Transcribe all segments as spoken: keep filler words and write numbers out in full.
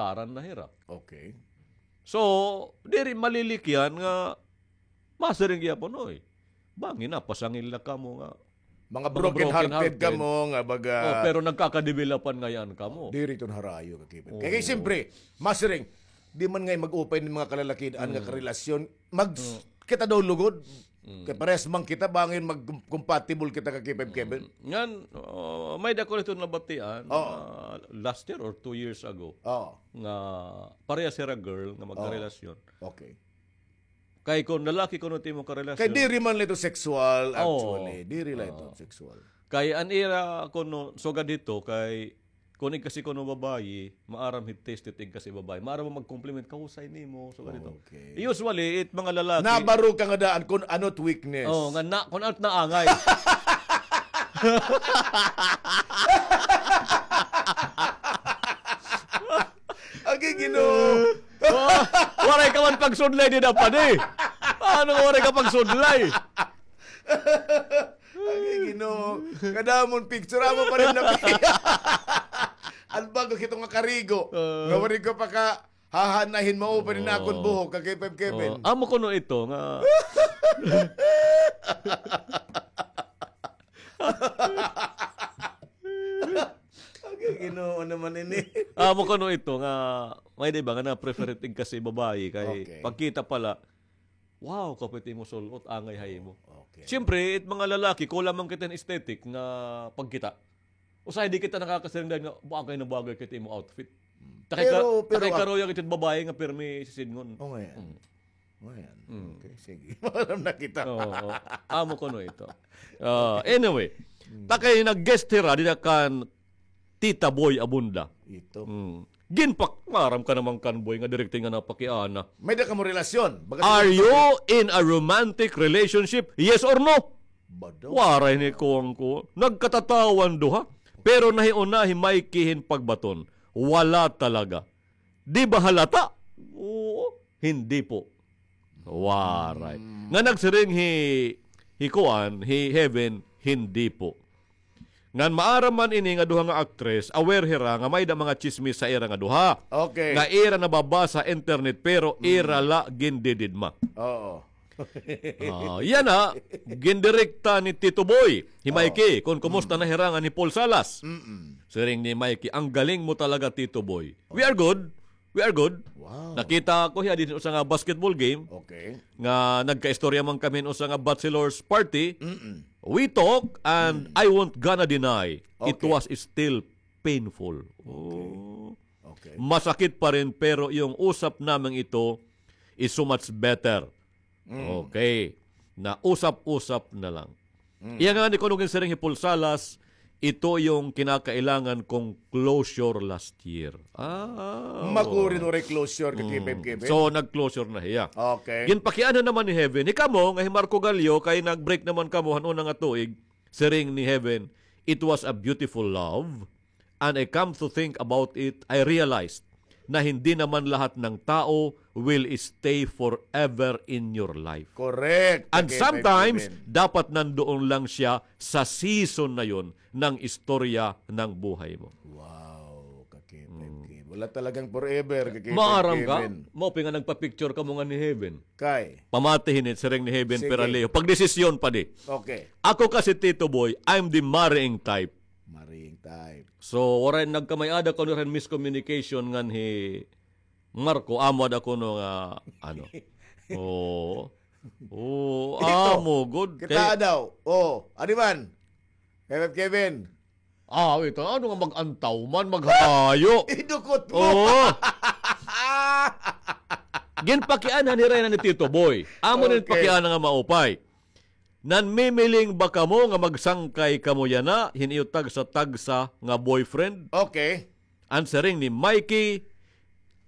aran na hira. Okay. So, diri malilikyan nga masiring gihapon, oy. Bangin na, pasangil na kamo nga mga mga broken broken hearted hearted. Kamo nga baga Oh, pero nagkakadevelopan ngayon kamo. Diri ton harayo ka, Kevin. Oo. Kay, kay siyempre, masiring, di man ngay mag-upay ni mga kalalakian nga karelasyon, mag, kita daw lugod. Kay parehas man kita, bangin mag-compatible kita ka K five Kevin. Ngan, oh, may dako nito nabatian, Oo. ah, last year or two years ago, Oo. nga parehas hira girl nga Oo. magkarelasyon. Okay. Kay kon lalaki kuno it imo karelasyon. Kay diri man la ito sexual, Oo. actually. Diri la ito Oo. sexual. Kay an ira kuno, sugad hito, kay kon igkasi kuno babayi, maaram hit taste it igkasi babayi. Maaram man mag-compliment, "Kahusay nimo," sugad hito. Okay. Usually, it mga lalaki Nabarog ka nga daan kon ano it weakness. Oh, nga na, kon ano it naangay. Agi Ginoo. Oh, waray ka man pagsudlay dida, padi. Ano nga waray ka pagsudlay? Agi Ginoo. Kadamon picture, amo pa rin na. An bago kito nga karigo. Ah. Nga waray ko pa ka hahanahin, mao pa rin Oo. akon buhok, ka K five Kevin. Oo. Amo kuno ito nga Agi Ginoo naman ini. Amo kuno ito nga, may di ba nga na-prefer it igkasi babayi kay Okay. pagkita pala, "Wow, kapit imo sul-ot, angay ha imo." Okay. Siyempre, it mga lalaki, kulang man kita hin aesthetic nga pagkita. Usahay di kita nakakasiring dayon nga, "Bagay na bagay kay it imo outfit." Hmm. Takay ka, Pero, pero takay ak- karuya kita babayi nga pirmi sisidngon. O, nga yan. Mm. O, nga yan. Mm. Okay, sige. Maaram na kita. Oo, oo. Amo kuno ito. Ah, anyway, Mm. takay nag-guest hira dida kan Tita Boy Abunda. Ito. Mm. Ginpak, maaram ka naman kan Boy nga direkta nga napakiana. May da kamo relasyon? Baga Are you in a romantic relationship? Yes or no? Bado. Waray ni kuwang ko. Nagkatatawa an duha. Pero nahiuna hi Mikey hin pagbaton. Wala talaga. Di ba halata? Oo, hindi po. Waray. Mm. Nga nagsiring hi, hi kuan, hi Heaven, hindi po. Ngan maaram man ini nga duha nga actress, aware hira nga may da mga tsismis sa ira nga duha. Okay. Nga ira nababasa internet, pero Mm. ira la gindididma. Oo. Ah, yana, gindirekta ni Tito Boy, hi Oo. Mikey, kon kumusta Mm. na hira ngan hi Paul Salas. Mm-mm. Siring ni Mikey, "Ang galing mo talaga, Tito Boy." We are good. We are good. Wow. Nakita ko hiya dinhi usa nga basketball game Okay. nga nagkaistorya man kami usa nga bachelor's party. Mm-mm. We talk and Mm. I won't gonna deny, it Okay. was still painful. Okay. Oh. Okay. Masakit pa rin, pero yung usap naming ito is so much better. Mm. Okay. Na usap-usap na lang. Mm. Iya nga ni kuno ginsiring hi Paul Salas, ito yung kinakailangan kong closure last year. Ah, Magurin oo. waray closure ka Mm. K five Kevin? So, nag-closure na hiya. Okay. Ginpakiana naman ni Heaven, hikamo nga hi Marco Gallo, kay nag-break naman kamo han una nga tuig, siring ni Heaven, it was a beautiful love. And I come to think about it, I realized na hindi naman lahat ng tao will stay forever in your life. Correct. And Ka K five sometimes, Kevin. dapat nandoon lang siya sa season na yon ng istorya ng buhay mo. Wow, ka K five Mm. Kevin. Wala talagang forever, ka K five Maaram ka? Kevin. Maupay nga nagpa-picture kamo ngan ni Heaven. Kay? Pamati hini, siring ni Heaven Sige. Peraleo. Pagdesisyon pa di. Okay. Ako kasi, Tito Boy, I'm the marrying type. Marrying type. So, waray nagkamay-ada kuno hira hin miscommunication ngan hi Marco, amo ada kuno nga, ano. Oo. Oo, Ito. amo, good. Kita Kay daw. Oh, ano man? Kevin, Kevin. Ah, wait, ano nga mag-antaw man, maghayo? Idukot mo. Oo. Ginpakianhan hira yana ni Tito Boy. Amo nin Okay. pakiana nga maupay. Nanmimiling ba kamo nga magsangkay kamo yana hin iyo tagsa-tagsa nga boyfriend? Okay. An siring ni Mikey,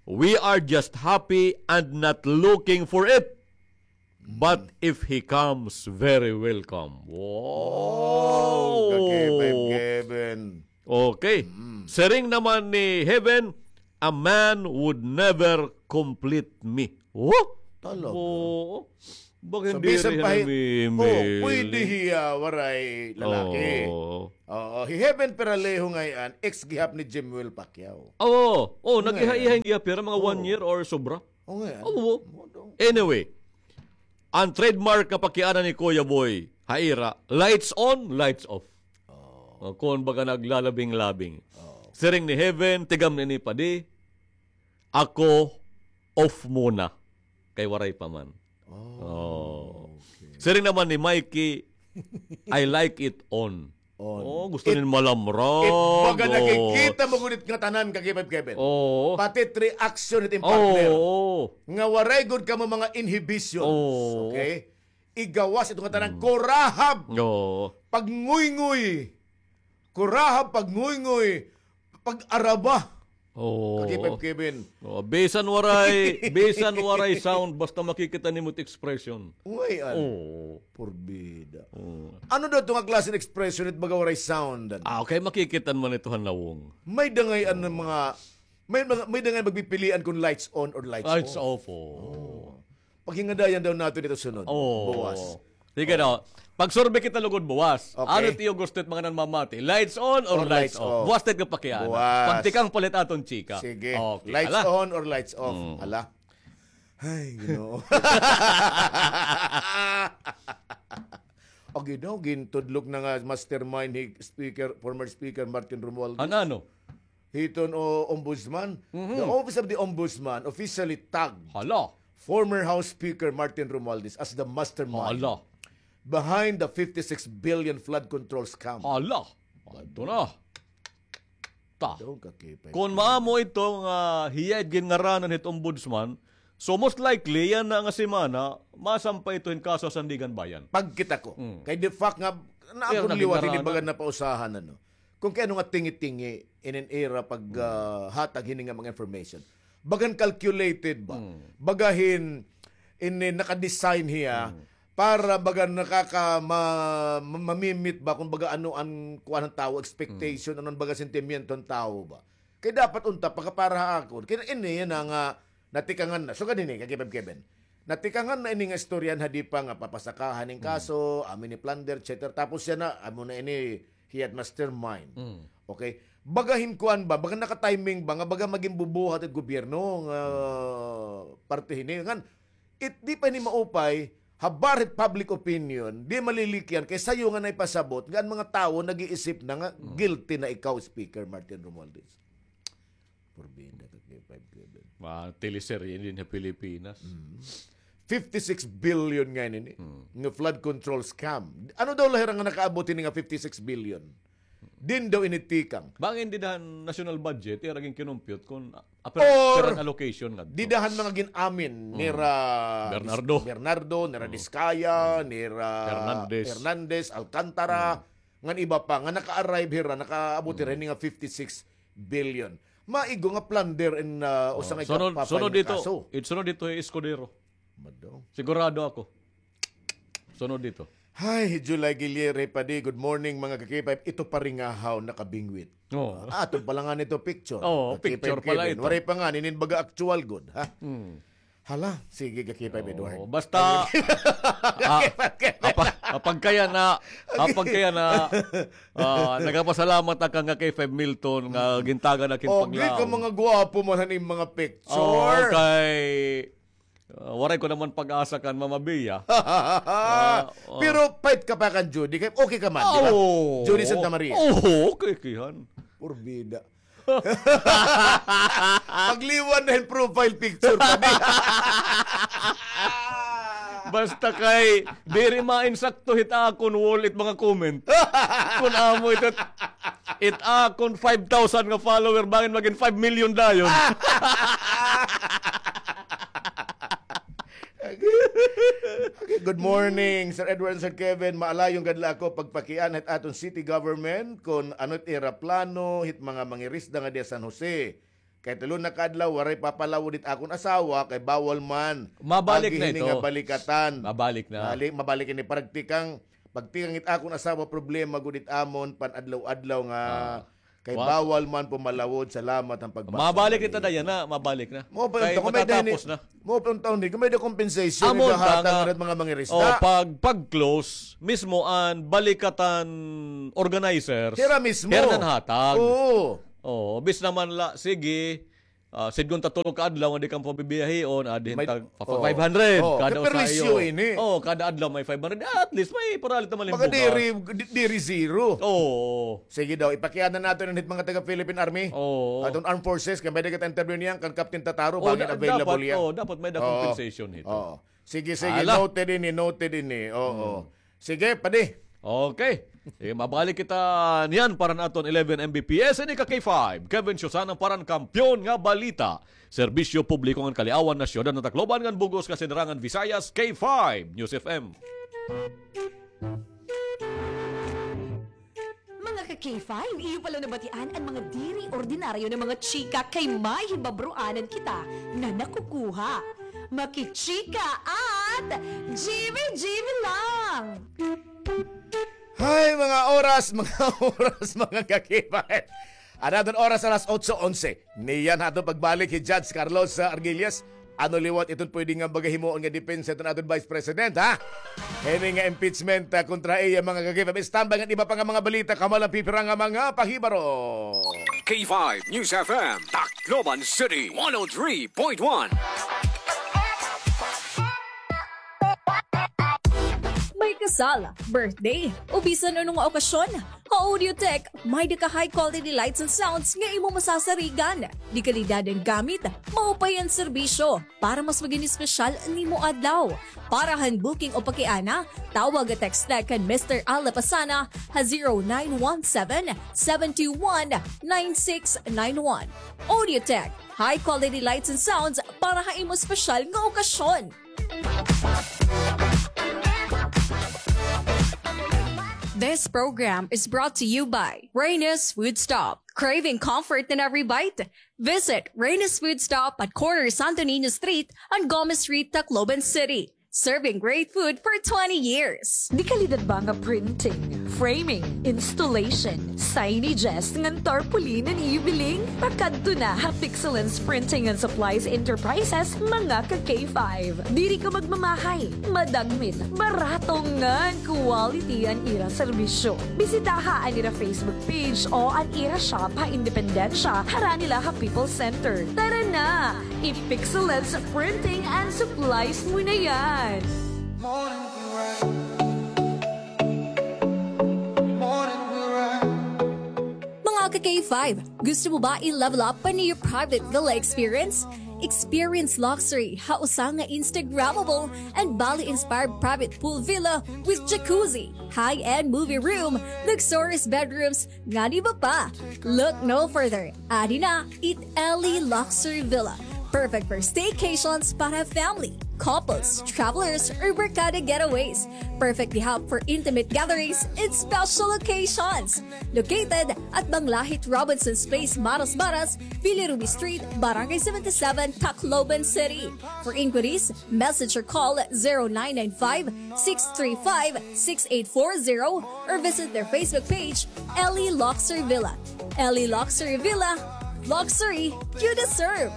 "We are just happy and not looking for it. But Mm. if he comes, very welcome." Wow! Oh, ka K five Kevin. Okay. Mm. Siring naman ni Heaven, "A man would never complete me." Oh? Talaga? Oo. Baka So, hindi bisan rin pa hi-, namimili. oh, pwede hiya waray lalaki. Oo. Oo, hi Heaven Peralejo ngay-an, ex gihap ni Jimwell Pacquiao. Oo, oh, Ngay-an. naghiha-iha gihap hira, mga one Oo. year or sobra. Oo, ngay-an. Oo. Oo, daw. Anyway, an trademark nga pakiana ni Kuya Boy, ha ira, lights on, lights off. Oo. O, kon baga naglalabing-labing. Oo. Siring ni Heaven, tigam nini padi, ako, off muna. Kay waray pa man. Oh, Oh. okay. Siring naman ni Mikey, "I like it on." On. Oh, gusto It, nin malamrag. it baga Oh. nakikita mo gud it ngatanan, Ka-K five Kevin. Oh. Pati it reaction it im partner. Oh. Nga waray gud kamo mga inhibitions. Oh. Okay? Igawas ito ngatanan, Mm. kurahab. Oh. Pagnguynguy. Kurahab, pagnguynguy. Pag-araba. Oo. Ka-K five Kevin. Oh, bisan waray, bisan waray sound, basta makikita nimo it expression. Ngay-an. Oo. Purbida. Oo. Ano daw ito nga klase ng expression it baga waray sound? Ah, okay, makikita man ito han nawong. May dangay-an ng mga, may mga, may dangay magpipilian kung lights on or lights Lights off. off, oo. Oo. Paghingadayan daw nato dito sunod. Oo. Buwas. Sige Oo. daw. Pag-survey kita lugod buwas. Okay. Ano it iyo gusto it mga nanmamati? Lights on or Or lights lights off? off. Buwas it nga pakiana. Buwas. Pagtikang palit aton chika. Sige. Okay, Lights hala. on or lights off? Mm. Hala. Ay, Ginoo. O, Ginoo, gintudlok na nga mastermind hi Speaker, former Speaker Martin Romualdez. Ano, ano? Hiton o Ombudsman, Mhm. the Office of the Ombudsman officially tagged Hala. former House Speaker Martin Romualdez as the mastermind Hala. behind the fifty-six billion flood control scam. Hala. Adto na. Ta. Daw ka, K five. Kon maamo ito nga hiya it ginngaranan hit Ombudsman, so most likely, yana nga semana, masampay ito hin kaso ha Sandiganbayan. Pagkita ko. Mm. Kay the fact nga, Pero naakon liwat, hindi nagingaranan. baga napausahan, ano. Kung kay ano nga tingi-tingi, inin ira pag, Mm. ah, hatag hini nga mga information. Bagan calculated ba? Mm. Bagahin, ini naka-design hiya Mm. para baga nakaka-, ma-, ma-, mamimit ba kung baga ano an kuan han tawo, expectation, Mm. ano an baga sentimiento han tawo ba? Kay dapat unta, pagka para ha akon, kay ini yana nga natikangan na. So, ganini, Ka-K five Kevin. Natikangan na ini nga istorya han hadipa nga papasakahan hin Mm. kaso, amo ini plunder, et cetera. Tapos yana, amo na ini, hiya it mastermind. Mm. Okay? Baga hin kuan ba, baga naka-timing ba, nga baga magin bubuhat it gobyerno nga Mm. parte hini. Ngan, it, di pa ini maupay, habar hit public opinion, di malilikyan, kay sayo nga naipasabot, nga an mga tawo nag-iisip na nga Mm. guilty na ikaw, Speaker Martin Romualdez. Purbida ka, K five Kevin. Mga teleserye din sa Pilipinas. Mm. Fifty-six billion ngay-an ini. Mm. Nga flood control scam. Ano daw la hira nga nakaabot ini nga fifty-six billion? Diin daw ini tikang? Bangin dida han national budget, ira ginkinumpyut kon, ah, apira, Or, apira an allocation ngadto. Dida han mga gin-amin, Mm. nira Bernardo. Bernardo, nira Mm. Discaya, Mm. nira Hernandez. Hernandez, Alcantara, Mm. ngan iba pa, nga naka-arrive hira, nakaabot hira Mm. ini nga fifty-six billion. Maigo nga plunder in, ah, Oh, usa nga sunod, ikapapan sunod nga dito, kaso. It sunod dito hi Escudero. Mado. Sigurado ako. Sunod dito. Hi, July Guilliere Padi. Good morning, mga ka-K five. Ito pa rin nga haw nakabingwit. Oo. Ah, aton pala nga nito picture. Oo, Ka-K five picture pala Kevin. Ito. Waray pa nga, ninin baga actual good, ha? Hmm. Hala, sige, Ka-K five Edward. Oo, basta, ah, Ka-K five Kevin. Apag, apag kaya na, apag kaya na, ah, nagapasalamat na ka nga kay Five Milton nga gintagan na kin paglaom. Ogi ka mga gwapo man han im mga picture. Oo, kay Ah, waray ko naman pag-asa kan Mama Bea. Ah, ah. Pero fight ka pa kan Judy. Kay okay ka man, di ba? Oo. Judy Santa Maria. Oo, okay, kihan. Purbida. Pagliwan na hin profile picture pa di. Basta kay, diri mainsakto hit akon wall it mga comment. Kun amo ito, it akon five thousand nga follower, bangin magin five million dayon. Okay, good morning, Sir Edward and Sir Kevin. Maalayon gad la ako pagpakiana hit aton city government kon ano it ira plano hit mga mangirisda nga diya San Jose. Kay tulo na ka adlaw, waray papalawod it akon asawa, kay bawal man. Mabalik na ito. Agi hini nga balikatan. Mabalik na. Mabalik, mabalik ini. Pagtikang, pagtikang it akon asawa, problema gud it amon, pan-adlaw-adlaw nga Ah. Kay bawal man pumalawod, salamat han pagpasok. Mabalik kita dayan na, mabalik na. Mao pa unta, kay matatapos na. Mao pa unta, kung may-ada compensation, amo unta ihahatag nga, nga mga mangirisda. O, pag, pag-close, mismo an balikatan organizers, hira mismo. Hira nan hatag. Oo. O, bis naman la, sige, ah, sidngon ta tulo ka adlaw nga di kamo pabibiyahion, adi hin tag five hundred. Kada usa ha iyo. Kay perwisyo ini. O, kada adlaw may five hundred. At least may paralit naman hin bugas. Baga diri, di-, diri zero. Oo. Sige daw, ipakiana naton ini hit mga taga Philippine Army. Oo. Aton Armed Forces, kay may-ada kita interview niyan kan Captain Tataro, bangin available hiya. Oo, dapat may-ada compensation hito. Oo. Sige, sige, noted ini, noted ini. Oo. Sige, padi. Okay. Sige, mabalik kita niyan para han aton eleven M B P S, ini ka K five. Kevin Siosana para han Kampiyon nga Balita. Serbisyo publiko ngan kaliawan ha syudad han Tacloban ngan bug-os nga sinirangan Visayas, K five News F M. Mga ka K five, iyo pa la nabatian an mga diri ordinaryo nga mga chika kay may hibabroanan kita nga nakukuha. Makichika at Jimmy Jimmy lang! Hay, mga oras, mga oras, mga ka K five. An aton oras alas otso onse. Niyan ha aton pagbalik hi Judge Carlos, ah, Argillas. Ano liwat iton pwede nga baga himuon nga depensa hiton aton Vice President, ha? Hini nga impeachment, ah, kontra iya, mga ka K five. Standby ngan iba pa nga mga balita, kamo lang pipira nga mga pahibaro. K five News F M, Tacloban City, one oh three point one. May kasal, birthday, o bisan ano nga okasyon, ha Audiotech, may-ada ka high quality lights and sounds nga imo masasarigan. De kalidad an gamit, maupay an serbisyo para mas magin espesyal an imo adlaw. Para han booking o pakiana, tawag o text la kan Mister Al Lapasana ha zero nine one seven, seven two one, nine six nine one. Audiotech, high quality lights and sounds para ha imo espesyal nga okasyon. This program is brought to you by Reyna's Food Stop. Craving comfort in every bite? Visit Reyna's Food Stop at corner Santo Niño Street and Gomez Street, Tacloban City. Serving great food for twenty years. De kalidad ba nga printing, framing, installation, signages ngan tarpaulin an iyo biling? Pakadto na ha Pixelance Printing and Supplies Enterprises, mga ka K five. Diri ka magmamahay, madagmit, barato ngan quality an ira serbisyo. Bisitaha an ira Facebook page o an ira shop ha Independencia, harani la ha People's Center. Tara na! I-Pixelance Printing and Supplies mo na yan! Mga ka K five, gusto mo ba i-level up an iyo private villa experience? Experience luxury ha usa nga Instagrammable and Bali-inspired private pool villa with jacuzzi, high-end movie room, luxurious bedrooms, ngan iba pa. Look no further. Adi na it Ellie Luxury Villa. Perfect for staycations para family, couples, travelers, or barkada getaways. Perfect ihap for intimate gatherings and special occasions. Located at Banglahit Robinson's Place, Maras Maras, Villa Ruby Street, Barangay seventy-seven, Tacloban City. For inquiries, message or call zero nine nine five, six three five, six eight four zero or visit their Facebook page, Ellie Luxury Villa. Ellie Luxury Villa, luxury you deserve.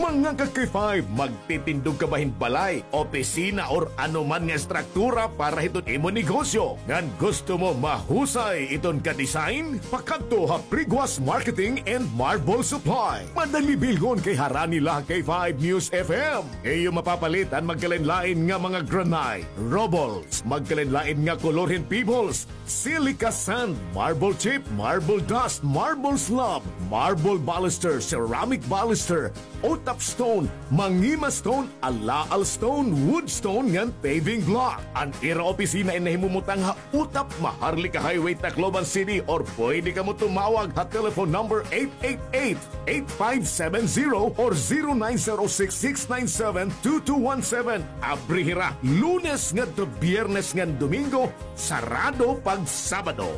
Mga ka K five, magtitindog ka ba hin balay, opisina, or ano man nga estruktura para hiton imo negosyo? Ngan gusto mo mahusay iton ka design? Pakadto ha Priguas Marketing and Marble Supply. Madali bilngon kay harani la ha K five News F M. Iyo mapapalit an magkalain-lain nga mga granite, rubbles, magkalain-lain nga kolor hin pebbles, silica sand, marble chip, marble dust, marble slab, marble baluster, ceramic baluster, Otap stone, Mangima stone, Alaal stone, wood stone ngan paving block. An ira opisina in nahimumutang ha Otap, Maharlika Highway, Tacloban City, or pwede kamo tumawag ha telephone number eight eight eight, eight five seven zero or zero nine zero six, six nine seven, two two one seven. Abri hira Lunes ngadto Biyernes ngan Domingo, sarado pag Sabado.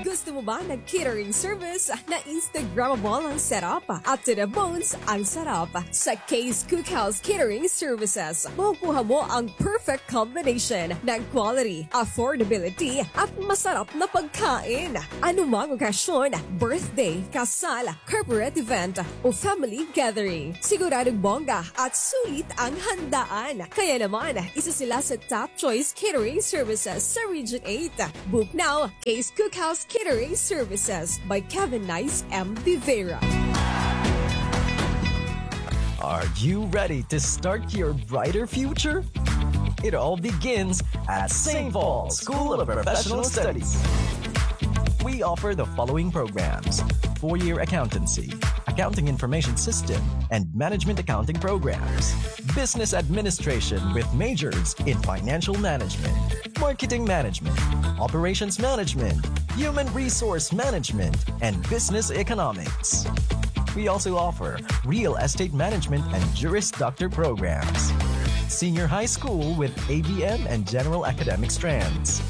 Gusto Mo ba nag-catering service na Instagrammable ang setup at to the bones ang sarap? Sa Kay's Cookhouse Catering Services, makukuha mo ang perfect combination ng quality, affordability, at masarap na pagkain. Anumang okasyon, birthday, kasal, corporate event, o family gathering, siguradong bongga at sulit ang handaan. Kaya naman, isa sila sa top choice catering services sa Region eight. Book now, Kay's Cookhouse Catering Services by Kevin Nice M. Vivera. Are you ready to start your brighter future? It all begins at Saint Paul School of Professional Studies. We offer the following programs: four-year accountancy, accounting information system, and management accounting programs, business administration with majors in financial management, marketing management, operations management, human resource management, and business economics. We also offer real estate management and Juris Doctor programs, senior high school with A B M and general academic strands,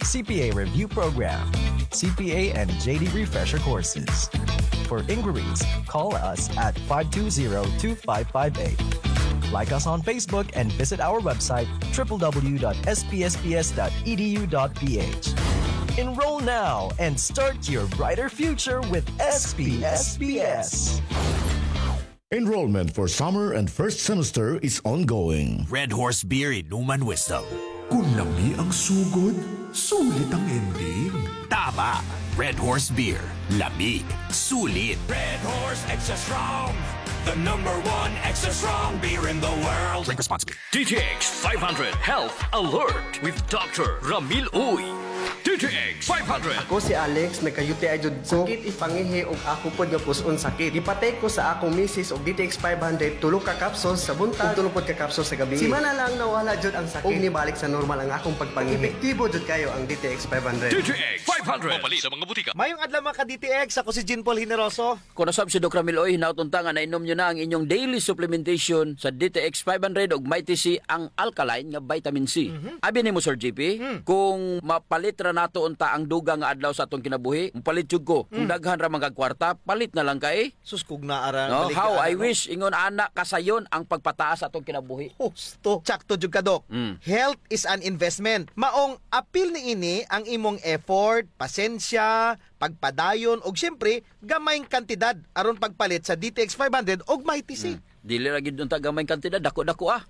C P A review program, C P A and J D refresher courses. For inquiries, call us at five two zero, two five five eight. Like us on Facebook and visit our website, triple W dot S P S P S dot E D U dot P H. Enroll now and start your brighter future with S P S P S. Enrollment for summer and first semester is ongoing. Red Horse Beer Inuman Wisdom. Kung lami ang sugod, sulit ang ending. Tama! Red Horse Beer. Lami. Sulit. Red Horse Extra Strong. The number one extra strong beer in the world. Drink responsibly. D T X five hundred Health Alert with Doctor Ramil Uy. D T X five hundred. Ako si Alex, nagka-U T I jud ko. Sakit it pangihi ug ako pod nga pus-on sakit. Gipatake ko sa akong misis og D T X five hundred, tulo ka capsules sa buntag ug tulo pod ka capsules sa gabii. Simana lang nawala jud ang sakit ug nibalik sa normal ang akong pagpangihi. Epektibo jud kayo ang D T X five hundred. D T X five hundred. Mapalit sa mga butika. Mayong adlaw, mga ka-D T X, ako si Jean Paul Generoso. Kon asab si Doc Ramil Uy, hinaot unta nga nainom niyo na ang inyong daily supplementation sa D T X five hundred ug Mighty C, ang alkaline nga vitamin C. Mhm. Abi nimo, Sir J P, hmm, kung mapalit ra nato unta ang dugang nga adlaw sa atong kinabuhi, mopalit jud ko. Kung, hmm, daghan ra man kag kwarta, palit na lang kay. Sus, kung naa ra, no? Balik ka, ano? How I wish, ingon ana, kasayon ang pagpataas sa atong kinabuhi. Husto. Sakto jud ka, Doc. Mm. Health is an investment. Maong apil niini ang imong effort, pasensya, pagpadayon, ug siyempre, gamayng kantidad aron pagpalit sa D T X five hundred ug Mighty C. Hmm. Dili ra gyud unta gamayng kantidad, dako-dako, ah.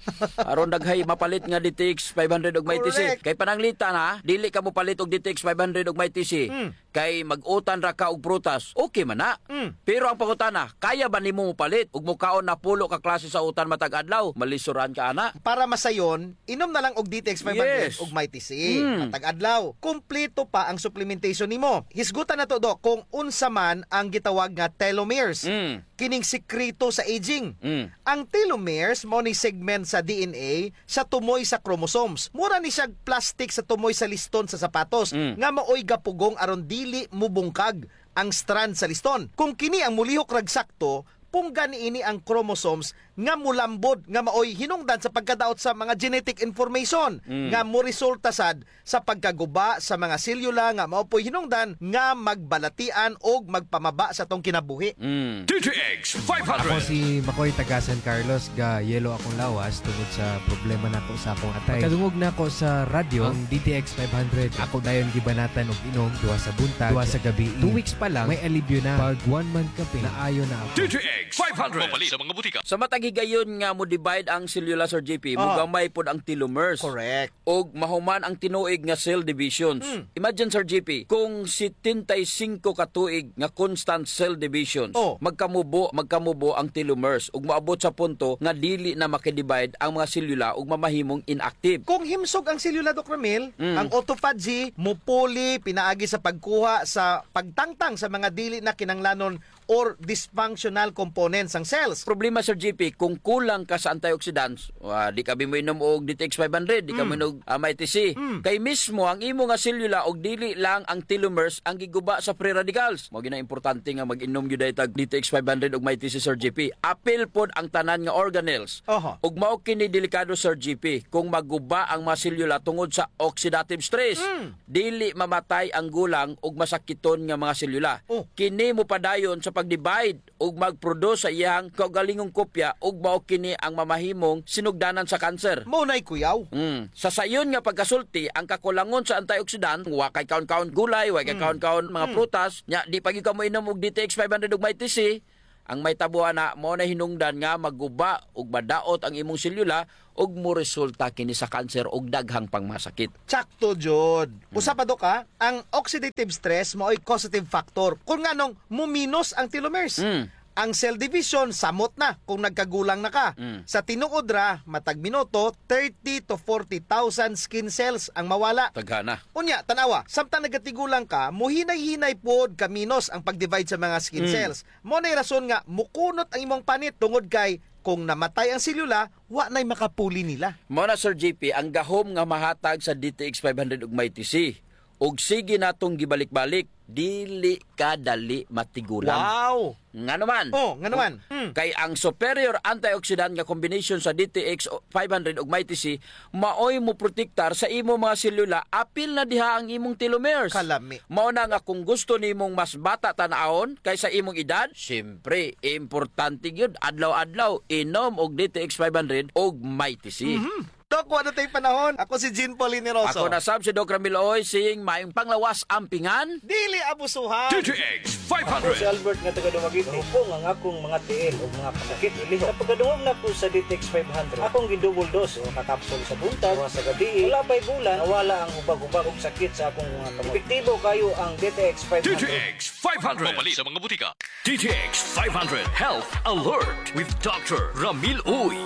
Aron daghay mapalit nga D T X five hundred ug Mighty C. Correct. Kay pananglitan, ha, dili ka mopalit og D T X five hundred ug Mighty C. Hmm. Kay mag-utan ra ka og prutas. Okay man na. Hmm. Pero ang pangutana, kaya ba nimo mopalit ug mokaon na pulo ka klase sa utan matag adlaw? Malisoran ka ana. Para masayon, inom na lang og D T X five hundred, yes, ug Mighty C. Mm. Matag adlaw, kumpleto pa ang supplementation nimo. Hisgutan nato, Doc, kung unsa man ang gitawag nga telomeres. Mm. Kining sikreto sa aging. Mm. Ang telomeres mao ni segment sa D N A sa tumoy sa chromosomes. Mura ni siya plastic sa tumoy sa liston sa sapatos, mm, nga maoy gapugong aron dili mubungkag ang strand sa liston. Kung kini ang mulihok rag sakto, punggan niini ang chromosomes nga mulambod, nga maoy hinungdan sa pagkadaot sa mga genetic information, mm, nga moresulta sad sa pagkaguba sa mga selyula nga mao po'y hinungdan nga magbalatian og magpamaba sa atong kinabuhi. Mm. D T X five hundred. Ako si Makoy, taga San Carlos, ga-yellow akong lawas tungod sa problema nako sa akong atay. Pagkadungog nako sa radyo, ang D T X five hundred, ako dayon gibanatan og inom duha sa buntag, duha sa gabii. Two weeks pa lang, may alibyo na. Pag one month ka pa, naayo na ako. D T X five hundred. Mapalit sa mga butika. Sa matag higayon nga mo-divide ang selula, Sir J P, ah, mogamay pod ang telomeres. Correct. Ug mahuman ang tinuig nga cell divisions. Hmm. Imagine, Sir J P, kung setenta y cinco ka tuig nga constant cell divisions, oh, magkamubo, magkamubo ang telomeres ug moabot sa punto nga dili na makidivide ang mga selula ug mamahimong inactive. Kung himsog ang selula, Doc Ramil, mm, ang autophagy mupuli pinaagi sa pagkuha sa pagtangtang sa mga dili na kinahanglanon or dysfunctional components sang cells. Problema, Sir J P, Kung kulang ka sa antioxidants, ah, di ka bi moinom og D T X five hundred, di ka Mm. moinom og, ah, Mighty C. Mm. Kay mismo ang imo nga selula og dili lang ang telomeres ang giguba sa free radicals. Mao gyud ang importante nga mag-inom gyud diay tag D T X five hundred ug Mighty C, Sir G P. Apil pod ang tanan nga organelles. Oho. Ug mao kini delikado, Sir G P, kung maguba ang mga selula tungod sa oxidative stress. Mm. Dili mamatay ang gulang ug masakiton nga mga selula. Oh. Kini mopadayon sa pag-divide ug mag-produce sa iyang kaugalingong kopya ug mao kini ang mamahimong sinugdanan sa kanser. Mao nay kuyaw. Mm. Sa sayon nga pagkasulti, ang kakulangon sa antioxidant, wa kay kaon-kaon gulay, wa kay Mm. kaon-kaon mga Mm. prutas, nya di pa gyud ka moinom og D T X five hundred ug Mighty C, ang mahitabo ana, mao na hinungdan nga maguba ug madaot ang imong selula ug moresulta kini sa kanser ug daghang pang mga sakit. Sakto jud. Mm. Usa pa, Dok, ha, ang oxidative stress maoy causative factor kung nganong muminos ang telomeres. Mm. Ang cell division, samot na kung nagkagulang na ka. Mm. Sa tinuod ra, matag minuto, thirty to forty thousand skin cells ang mawala. Daghana. Unya, tan-awa, samtang nagatigulang ka, muhinay-hinay pod kaminos ang pag-divide sa mga skin Mm. cells. Mao nay rason nga mukunot ang imong panit tungod kay kung namatay ang selula, wa nay makapuli nila. Mao na, Sir G P, ang gahom nga mahatag sa D T X five hundred ug Mighty C. Ug sige natong gibalik-balik, dili ka dali matigulang. Wow! Ngano man? Oh, ngano man? Hmm. Kay ang superior antioxidant nga combination sa D T X five hundred ug Mighty C maoy moprotektar sa imo mga selula, apil na diha ang imong telomeres. Kalami. Mao na nga kung gusto nimong mas bata tan-awon kaysa imong edad, siyempre, importante gyud, adlaw-adlaw, inom og D T X five hundred og Mighty C. Mhm. Dok, wa na tay panahon. Ako si Jean Paul Hiniroso. Ako na sab si Doc Ramil Uy, saying maayong panglawas, ampingan. Dili abusuhan. D T X five hundred. Ako si Albert nga taga Dumaguete. Mahupong ang akong mga tiil ug mga kasakit ilihok. Sa pagkadungog nako sa D T X five hundred, akong gi-double dose, duha ka kapsul sa buntag, duha sa gabii. Wala pa'y bulan, nawala ang hubag-hubag ug sakit sa akong mga kamot. Epektibo kaayo ang D T X five hundred. D T X five hundred. Mapalit sa mga butika. D T X five hundred Health Alert with Doctor Ramil Uy.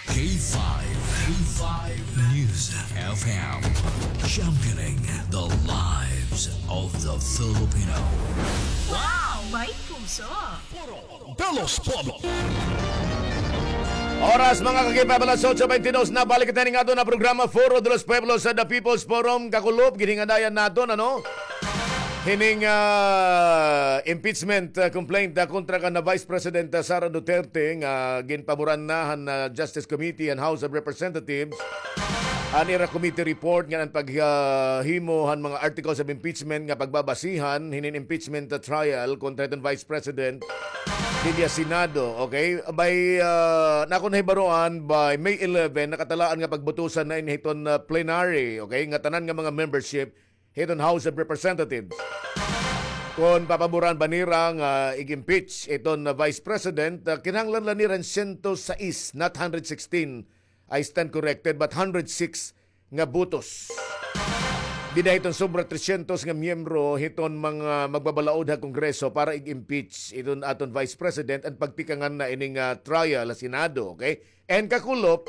K five, K five News F M, championing the lives of the Filipino. Wow! May puso! Foro de los Pueblos. Oras, mga ka-K five, alas otso beintidos na. Balik kita ning aton nga programa, Foro de los Pueblos, sa The People's Forum. Kakulop, ginhingadayan naton, ano? Hining, ah, impeachment, ah, complaint, ah, kontra kan, ah, Vice President, ah, Sara Duterte nga ginpaboran na han, ah, Justice Committee and House of Representatives an ira committee report ngan an pag, ah, himo han mga articles of impeachment nga pagbabasihan hinin impeachment, ah, trial kontra hiton Vice President didya Senado, okay? By, ah, nako nahibaroan, by May eleven, nakatalaan nga pagbutusan na ini hiton, ah, plenary, okay? Nga tanan nga mga membership hiton House of Representatives. Kon papaboran ba nira nga ig-impeach iton, ah, Vice President, ah, kinahanglan la nira hin sento sais, not hundred sixteen, I stand corrected, but hundred six nga botos. Dida hiton sobra tresyentos nga miyembro hiton mga magbabalaod ha Kongreso para ig-impeach iton aton Vice President, an pagtikangan na ini nga trial ha Senado, okay? And kakulop,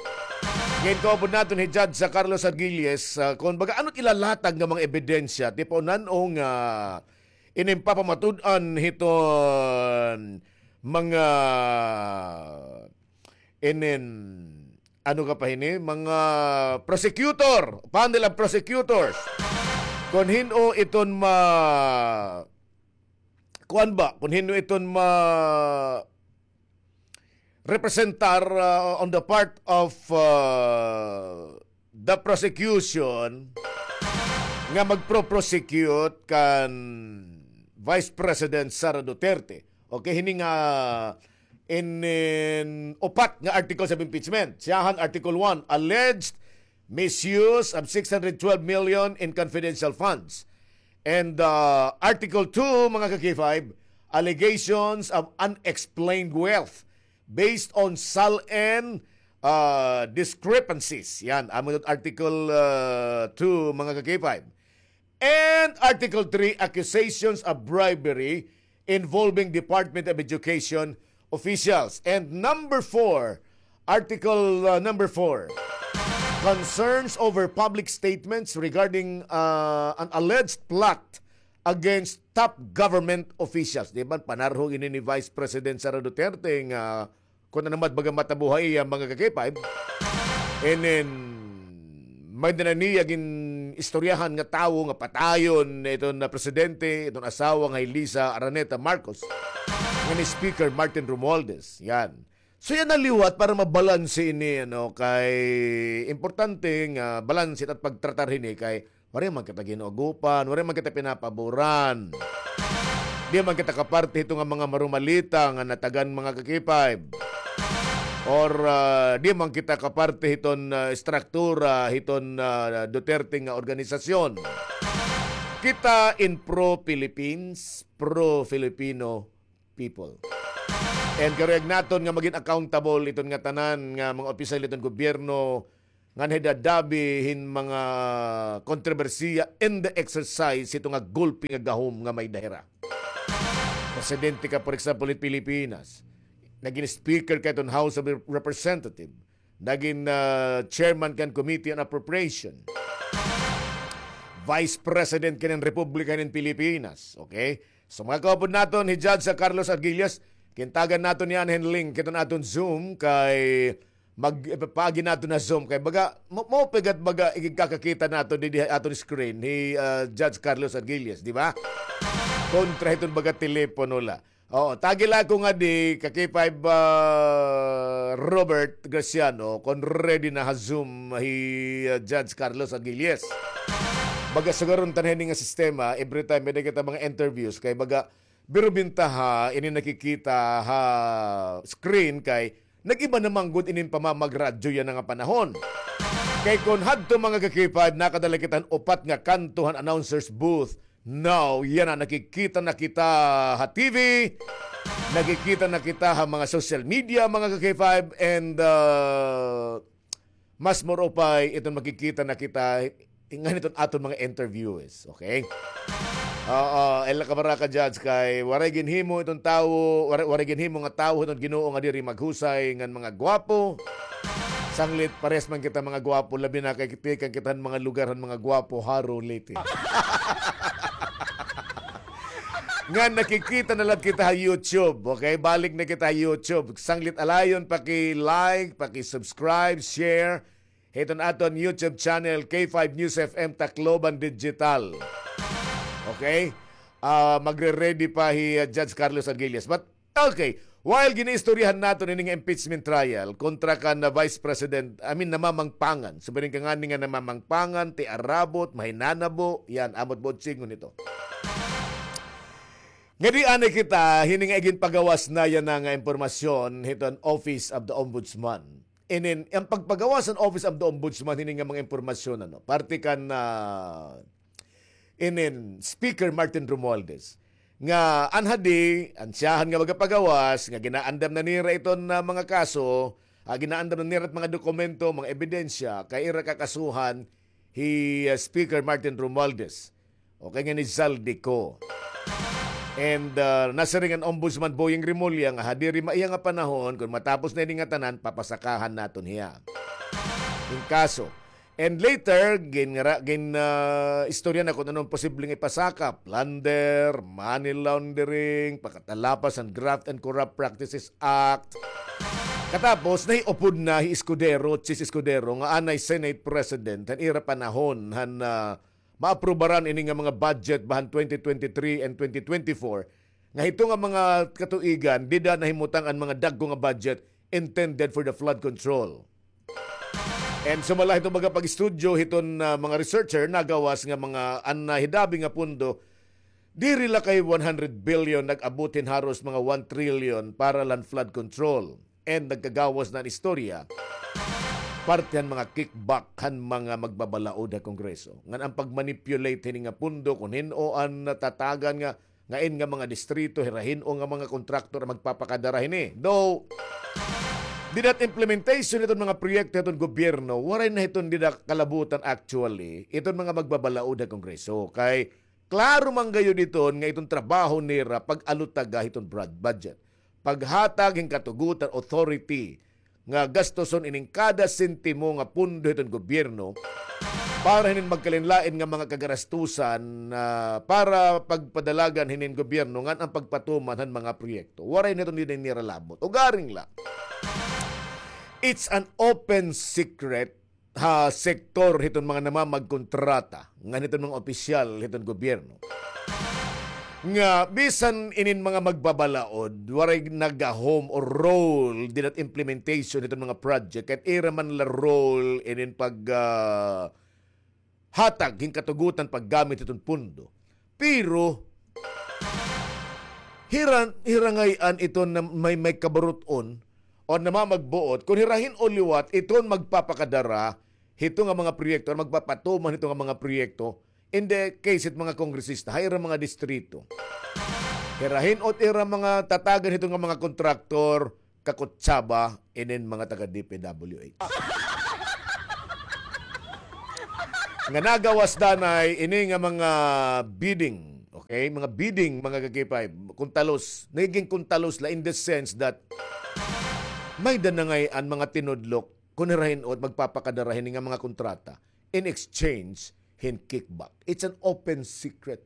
gintuod naton hi Judge sa Carlos Argilles, ah, kon baga ano it ilalatag nga mga ebidensya, tipo nan-o nga inin papamatud-an hiton mga inin, ano ka pa hini, mga prosecutor, panel of prosecutors. Kon hin-o iton ma-, kuan ba, kon hin-o iton ma-, representar, uh, on the part of, uh, the prosecution nga magpro-prosecute kan Vice President Sara Duterte. Okay, hini nga in, in upat nga articles of impeachment. Siyahan, Article one, alleged misuse of six hundred twelve million in confidential funds. And, uh, Article two, mga ka-K five, allegations of unexplained wealth based on SALN, uh, discrepancies. Yan, amo it Article, uh, two, mga ka-K five. And Article three, accusations of bribery involving Department of Education officials. And number four, Article, uh, number four, concerns over public statements regarding, uh, an alleged plot against top government officials. Di ba, panarhog ini ni Vice President Sara Duterte nga Kun ano man baga matabo ha iya, mga ka-K five. And then, may-ada na niya gin-istoryahan nga tawo nga patayon iton na presidente, iton asawa nga hi Liza Araneta Marcos, ngan hi Speaker Martin Romualdez. Yan. So, yana liwat para mabalanse ini, ano, kay importante nga balanse it pagtratar hini kay waray man kita ginuagupan, waray man kita pinapaboran. Di man kita kaparte hito nga mga marumalita nga natagan, mga ka-K five. Or, ah, di man kita kaparte hiton, ah, estruktura hiton, ah, Duterte nga organisasyon. Kita in pro-Philippines, pro-Filipino people. And karuyag naton nga magin accountable iton ngatanan nga mga opisyal iton gobyerno ngan hidadabi hin mga kontrobersiya in the exercise hito nga gulpi nga gahom nga may-ada hira. Presidente ka, for example, hin Pilipinas. Nagin speaker ka iton House of Representative. Nagin, ah, chairman kan Committee on Appropriation. Vice President ka hin Republika hin Pilipinas. Okay? So, mga kaupod naton, hi Judge, ah, Carlos Arguillas, kintagan naton yana hin link hiton aton Zoom kay mag-, ipaagi naton ha Zoom kay baga, mo, mo pigat baga ikakakita naton didi ha aton screen hi, ah, Judge Carlos Arguillas, di ba? Kontra hiton baga telepono la. Oo, tagi la ako ngadi, ka-K five, ah, Robert Graciano, kon ready na ha Zoom hi, ah, Judge Carlos Arguillas. Baga sugaron ta na hini nga sistema, every time may-ada kita mga interviews, kay baga, biro bintaha ini nakikita ha screen kay nag-iba na man gud ini pamamagradyo yana nga panahon. Kay kon hadto, mga ka-K five, nakadala kita han upat nga kanto han announcer's booth. Now, yana, nakikita na kita ha T V, nakikita na kita ha mga social media, mga ka-K five, and, uh, mas more upay iton makikita na kita ngan hiton aton mga interviews, okay? Oo, ella ka baraka, Judge, kay waray ginhimo iton tawo, waray, waray ginhimo nga tawo hiton Ginoo nga diri maghusay ngan mga gwapo. Sanglit, parehas man kita mga gwapo, labi na kay tikang kita han mga lugar han mga gwapo, Jaro, Leyte. Ngan nakikita na la kita ha YouTube, okay? Balik na kita ha YouTube. Sanglit alayon, paki-like, paki-subscribe, share hiton aton YouTube channel, K five News F M Tacloban Digital. Okay? Ah, magre-ready pa hi, ah, Judge Carlos Arguillas. But, okay, while ginaistoryahan naton ini nga impeachment trial kontra kan, ah, Vice President, I mean, Namamangpangan. Siring ka ngani nga Namamangpangan, tiarabot, mahinanabo, yan, amo it buot sidngon hito. Ngadi anay kita hini nga iginpagawas na yana nga impormasyon hiton Office of the Ombudsman. Inin, an pagpagawas han Office of the Ombudsman hini nga mga impormasyon, ano, parte kan, ah, inin Speaker Martin Romualdez, nga an hadi, an siyahan nga magapagawas, nga ginaandam na nira iton, ah, mga kaso, ah, ginaandam na nira it mga dokumento, mga ebidensya, kay ira kakasuhan hi, ah, Speaker Martin Romualdez. Okay, ngan ni Zaldy Co. And, ah, nasiring an Ombudsman Boying Remulla nga ha diri maiha nga panahon, kon matapos na ini ngatanan, papasakahan naton hiya hin kaso. And later, gin-, ra-, gin-, ah, istorya na kon ano an posibleng ipasaka, plunder, money laundering, pakatalapas han Graft and Corrupt Practices Act. Katapos, nahiupod na hi Escudero, Chiz Escudero, nga anay Senate President han ira panahon han, ah, maaprubaran ini nga mga budget ba han twenty twenty-three and twenty twenty-four, nga hito nga mga katuigan, dida nahimutang an mga dagko nga budget intended for the flood control. And sumala hiton mga pag-estudyo hiton, ah, mga researcher, nagawas nga mga an nahidabi nga pondo, diri la kay one hundred billion, nag-abot hin haros mga one trillion para la han flood control. And nagkagawas na an istorya, parte han mga kickback han mga magbabalaod ha Kongreso. Ngan an pag-manipulate hini nga pondo, kon hin-o an natatagan nga, ngain nga mga distrito, hira hin-o nga mga kontraktor an magpapakadara hini. Though, dida it implementation hiton mga proyekto hiton gobyerno, waray na hiton dida kalabutan actually, iton mga magbabalaod ha Kongreso. Kay, klaro man gayod iton nga iton trabaho nira pag-alutaga hiton broad budget. Paghatag hin katugotan, authority, nga gastuson ining kada sentimo nga pondo hiton gobyerno para hinin magkalain-lain nga mga kagarastusan, ah, para pagpadalagan hinin gobyerno ngan an pagpatuman han mga proyekto. Waray na iton dinhi nira labot. Ugaring la, it's an open secret ha sektor hiton mga namamagkontrata ngan hiton mga opisyal hiton gobyerno nga bisan inin mga magbabalaod, waray nagahom or role dida ha implementation hiton mga project, kay ira man la role inin pag, ah, hatag hin katugutan paggamit hiton pondo. Pero hira, hira ngay-an iton na may, may kabarut-on o namamagbuot kon hira hin-o liwat iton magpapakadara hito nga mga proyekto or magpapatuman hito nga mga proyekto, in the case hit mga kongresista ha ira mga distrito. Hira hin-o it ira mga tatagan hito nga mga kontraktor, kakutsaba inin mga taga D P W H. Nga nagawas danay ini nga mga bidding, okay? Mga bidding, mga ka-K five, kuntalos. Nagiging kuntalos la in the sense that may-ada na ngay-an mga tinudlok kon hira hin-o it magpapakadara hini nga mga kontrata in exchange hin kickback. It's an open secret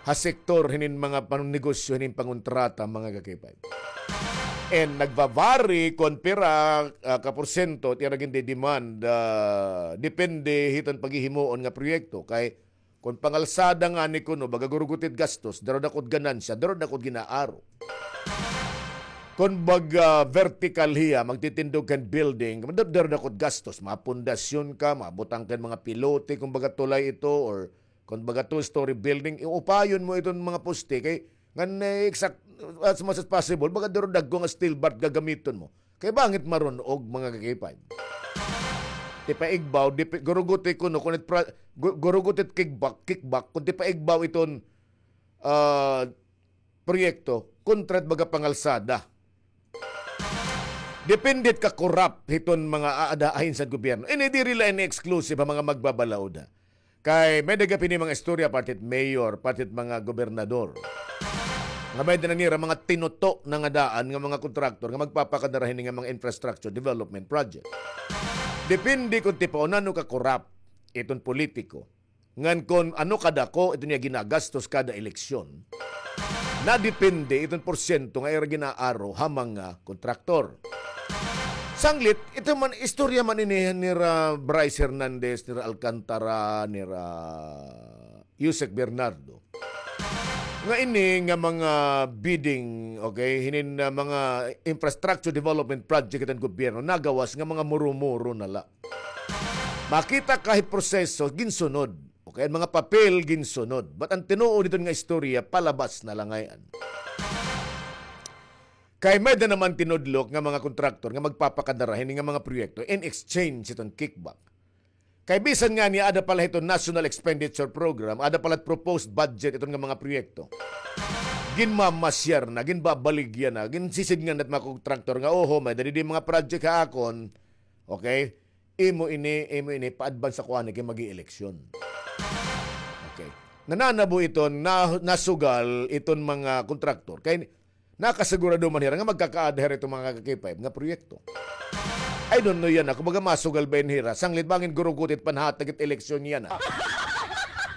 ha sektor hinin mga panunnegosyo hinin pangontrata, mga ka-K five. And nagva-vary kon pira, ah, ka porsyento it ira gindi-demand, ah, depende hiton paghihimuon nga proyekto. Kay kon pangalsada ngani kuno, baga gurugoti it gastos, daro-dako it ganansya, daro-dako it gin-aaro. Kon baga vertical hiya, magtitindog kan building, dar-, daro-dako it gastos, mga pundasyon ka, mabutang kan mga pilote, kon baga tulay ito, or kon baga two-story building, iupayon mo iton mga poste, kay ngan, eh, exact, as much as possible, baga daro dagko nga steel bar gagamiton mo. Kay bangin marun-og, mga ka-K five. Ti paigbaw, di pa, gurugoti kuno, kon it pra-, gu-, gurugoti it kickback, kickback, kon ti paigbaw iton, ah, proyekto, kontra it baga pangalsada. Depende it ka-corrupt hiton mga aada ahensyad gobyerno. Ini diri la ini exclusive ha mga magbabalaod, ha. Kay may-ada gihap ini mga istorya parte hit mayor, parte hit mga gobernador. Nga may-ada na nira mga tinuto na nga daan nga mga kontraktor nga magpapakadara hini nga mga infrastructure development project. Depende kon ti paon ano ka-corrupt iton politiko. Ngan kon ano kadako iton iya ginagastos kada eleksyon, nadepende iton porsyento nga ira gin-aaro ha mga kontraktor. Sanglit, ito man, istorya man ini nira Bryce Hernandez, nira Alcantara, nira Usec Bernardo. Nga ini nga mga bidding, okay, hinin, ah, mga infrastructure development project hiton gobyerno, nagawas nga mga muro-muro na la. Makita ka hit proseso, ginsunod. Okay, an mga papel, ginsunod. But an tinuod hiton nga istorya, palabas na la ngay-an. Kay may-ada naman tinudlok nga mga kontraktor nga magpapakadara hini nga mga proyekto in exchange hiton kickback. Kay bisan ngani aada pa la hiton National Expenditure Program, aada pa la proposed budget iton nga mga proyekto, ginmamasyar na, ginbabaligya na, ginsisidngan na it mga kontraktor nga, "Oho, may-ada didi mga project ha akon." Okay? Imo ini, imo ini, pa-advance ako ani kay mag-ieleksyon. Okay. Nananabo iton, na-, nasugal iton mga kontraktor. Kay nakasigurado man hira nga magkakaada hira iton mga ka-K five nga proyekto. I don't know yana. Kumbaga masugal ba ini hira? Sanglit bangin gurugoti it panhatag it eleksyon yana.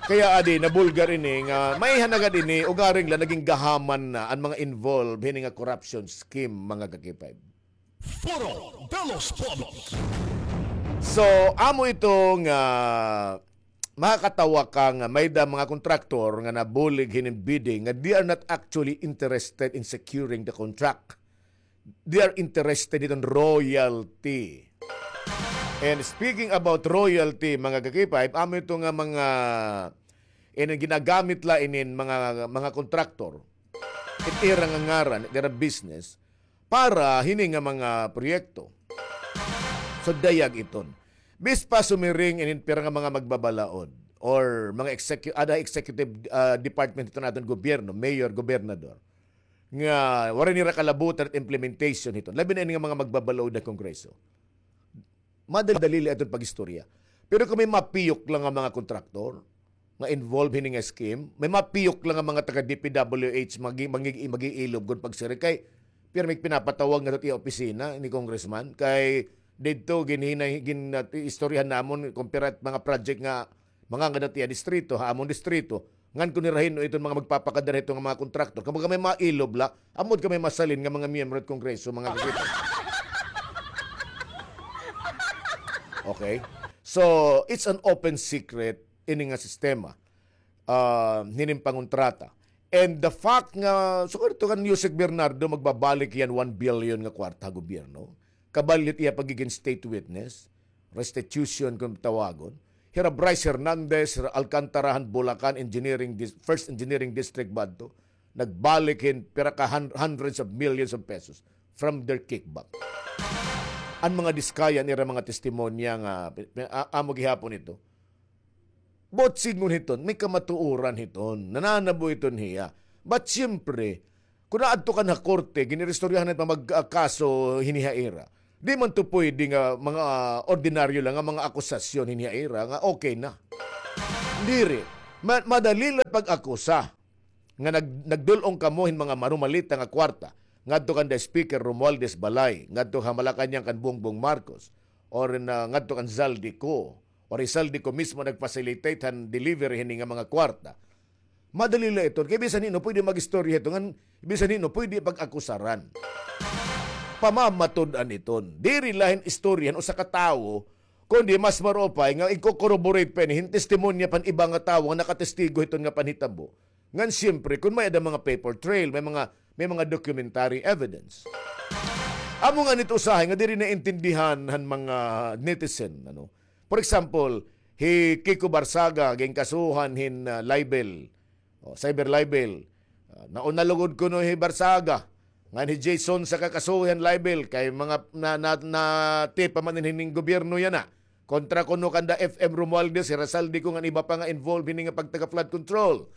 Kay adi, nabulgar ini nga, maiha na gad ini, ugaring la naging gahaman na an mga involved hini nga corruption scheme, mga ka-K five. Foro de los Pueblos. So, amo ito nga makakatawa ka nga may-ada mga kontraktor nga nabulig hinin bidding nga they are not actually interested in securing the contract. They are interested hiton royalty. And speaking about royalty, mga ka-K five, amo ito nga mga, inin ginagamit la inin mga, mga kontraktor, it ira nga ngaran, it ira business, para hini nga mga proyekto. So, dayag iton. Bis pa sumiring inin pira nga mga magbabalaod or mga execu-, ada executive, ah, department hiton aton gobyerno, mayor, gobernador, nga waray nira kalabutan it implementation hiton. Labi na ini nga mga magbabalaod ha Kongreso. Madali-dali la iton pag-istorya. Pero kon may mapiyok la nga mga kontraktor nga involved hini nga scheme, may mapiyok la nga mga taga D P W H magi-, magi-, mag-iilob kon pagsiring kay pirmi pinapatawag ngadto it iya opisina ni congressman kay Didto, ginhinay-, gin-, ah, istoryahan namon, kumpara mga project nga mga ngada tiya distrito, ha amon distrito. Ngan kon hira hin-o iton mga magpapakadara hito nga mga kontraktor. Kumbaga may mga ilob la, ambot ka may masalin nga mga miyembro hit Kongreso, mga kakita. Okay? So, it's an open secret ini nga sistema, ah, hinin pangontrata. And the fact nga, sugad ito kan Yusek Bernardo, magbabalik hiya hin one billion nga kwarta ha gobyerno. Kabalyot iya pagigin state witness, restitution kon tawagon. Hira Bryce Hernandez, hira Alcantara han Bulacan Engineering Dis-, First Engineering District ba adto, nagbalik hin pira ka hun-, hundreds of millions of pesos from their kickback. An mga diskaya han ira mga testimonya nga pi-, pi-, a-, amo gihapon ito. Buot sidngon hiton, may kamatuoran hiton, nananabo hiton hiya. But siyempre, kon aadto ka na ha korte, gin-iristoryahan na pa mag-, ah, kaso hini ha ira. Di man to pwede nga mga, ah, ordinaryo lang nga mga akusasyon hini ha ira nga okay na. Diri, ma-, madali lang pag-akusa nga nag-, nagdul-ong kamo hin mga marumalita nga kwarta ngadto kan the Speaker Romualdez Balay, ngadto ha Malacañang kan Bongbong Marcos, or na ngadto kan Zaldy Co, or hi Zaldy Co mismo nagfacilitate han delivery hini nga mga kwarta. Madali la iton. Kay bisan hin-o pwede mag-istorya hito, ngan bisan hin-o pwede pag-akusaran. Pamamatud-an iton. Diri la hin istorya han usa ka tawo, kundi mas maupay nga i-corroborate pa ini hin testimonya pa han iba nga tawo nga nakatestigo hiton nga panhitabo. Ngan siyempre, kon may-ada mga paper trail, may mga, may mga documentary evidence. Amo ngani it usahay nga diri naintindihan han mga netizen, ano. For example, hi Kiko Barsaga, ginkasuhan hin, ah, libel. O, cyber libel. Ah, nauna lugod kuno hi Barsaga. Ngan hi Jason sa kakasuhan libel kay mga na, na, na-tip pa man hining gobyerno yana. Kontra kuno kanda F M Romualdez, hi Rizaldy Co ngan iba pa nga involved hini nga pagtaga flood control.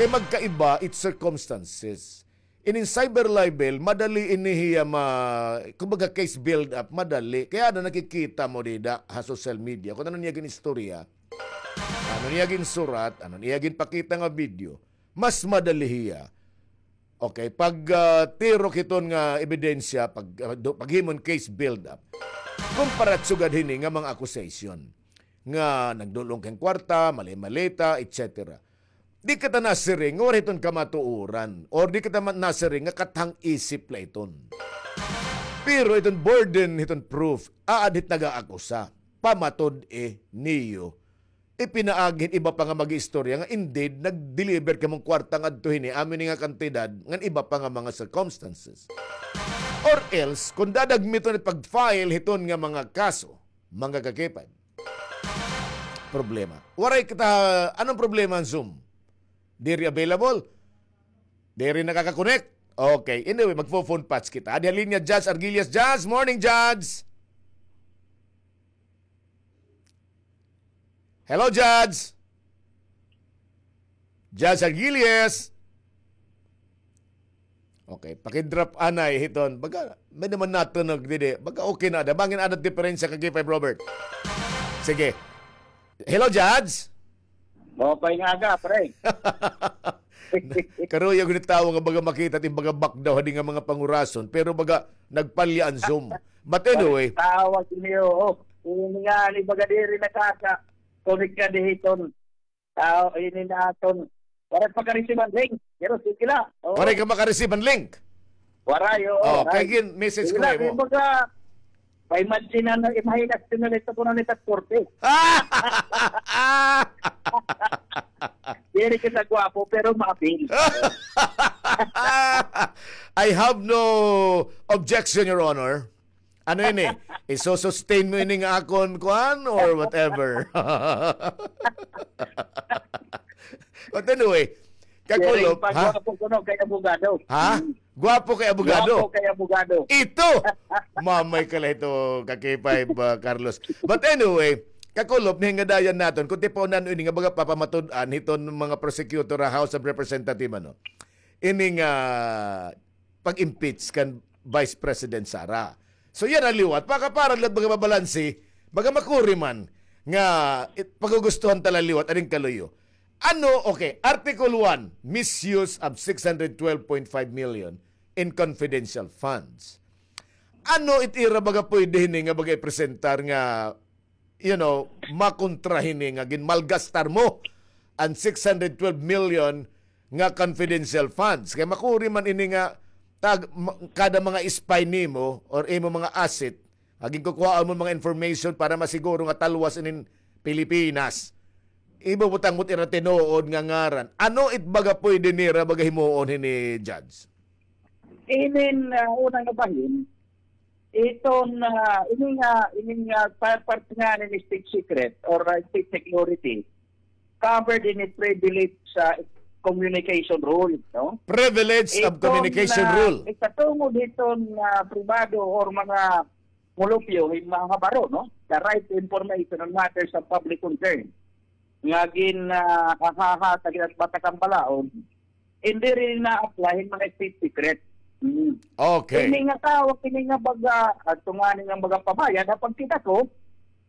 Kay magkaiba it circumstances. Ining cyber libel, madali ini hiya ma-, kumbaga case build up, madali. Kay ada nakikita mo dida ha social media kon ano niya gin-istorya. Ano niya ginsurat, ano niya ginpakita nga video. Mas madali hiya. Okay, pag, ah, tirok hiton nga ebidensya, pag, ah, do-, paghimo hin case build up. Kumpara sugad hini nga mga accusation nga nagdul-ong ka hin kwarta, mali-malita, et cetera. Di kita nasiring nga waray hiton kamatuoran or di kita ma-, nasiring nga kathang isip la iton. Pero iton burden hiton proof, aad hit nag-aakusa, pamatud-i niyo. Ipinaagi hin iba pa nga mag-iistorya nga indeed nag-deliver kamo hin kwarta ngadto hini, amo ini nga kantidad, ngan iba pa nga mga circumstances. Or else, kon dadagmiton it pag-file hiton nga mga kaso, mga kakipad, problema. Waray kita, ano an problema han Zoom? Diri available? Diri nakaka-connect? Okay. Anyway, magfo-phone patch kita. Adi ha linya, Judge Arguillas. Judge, morning, Judge. Hello, Judge. Judge Arguillas. Okay, paki-drop anay hiton. Baga, may-ada man natunog didi. Baga okay na ada. Bangin ada diperensya kay K five Robert. Sige. Hello, Judge. Maupay nga aga, pre. Karuyag ni tawo nga baga makita it im baga backdaw hadi nga mga pangurason, pero baga nagpalya an Zoom. But anyway. Tawag niyo, oh. Ini nga, ni baga diri nakaka-connect ka dihiton. Ah, ini na aton. Waray pa ka-receive an link. Pero sige la. Oo. Waray ka maka-receive an link? Waray, oo. Oh, kay gin-message ko na imo. Baga, pa-imagine na, imagine na, ito ko na nita forty. Diri kita gwapo, pero mabil. I have no objection, Your Honor. Ano ini? Iso-sustain mo ini nga akon kuan or whatever? But anyway, Kakulop, ha? Gwapo kuno kay abogado. Ha? Gwapo kay abogado. Gwapo kay abogado. Ito! Mamay ka la ito, ka K five, ah, Carlos. But anyway, Kakulop, nahingadayan naton, kun tipaon ano ini nga baga papamatud-an hiton mga prosecutor ha House of Representative, ano? Ini nga pag-impeach kan Vice President Sara. So, yana liwat, pakaparad la baga mabalanse, baga makuri man nga it-, pagugustuhan ta la liwat, aning kaluyo. Ano, okay, Article one, misuse of six hundred twelve point five million in confidential funds. Ano it ira baga pwede hini nga baga ipresentar nga, you know, makontra hini nga ginmalgastar mo an six hundred twelve million nga confidential funds? Kay makuri man ini nga tag-, ma-, kada mga spy nimo or imo mga asset, nga ginkukuhaan mo mga information para masiguro nga talwas inin Pilipinas. Ibubutang mo't ira tinuod nga ngaran. Ano it baga pwede nira baga himuon hini, Judge? Inin, ah, unang nga bahin, iton, ah, ini nga, ini nga pa-, part nga ni state secret or, ah, state security, covered in the privilege, ah, communication rule, no? Privilege of communication rule. Iton, ah, ikatungod hiton, ah, pribado or mga mulupyo, hin mga baro, no? The right to information on matters of public concern. Nga gin, ah, hahahatag hin batakan balaod, diri na-apply hin mga state secret. Mm. Okay. Kini nga tawo, kini nga baga, adto ngani nga baga pabayad, ha pagkita ko,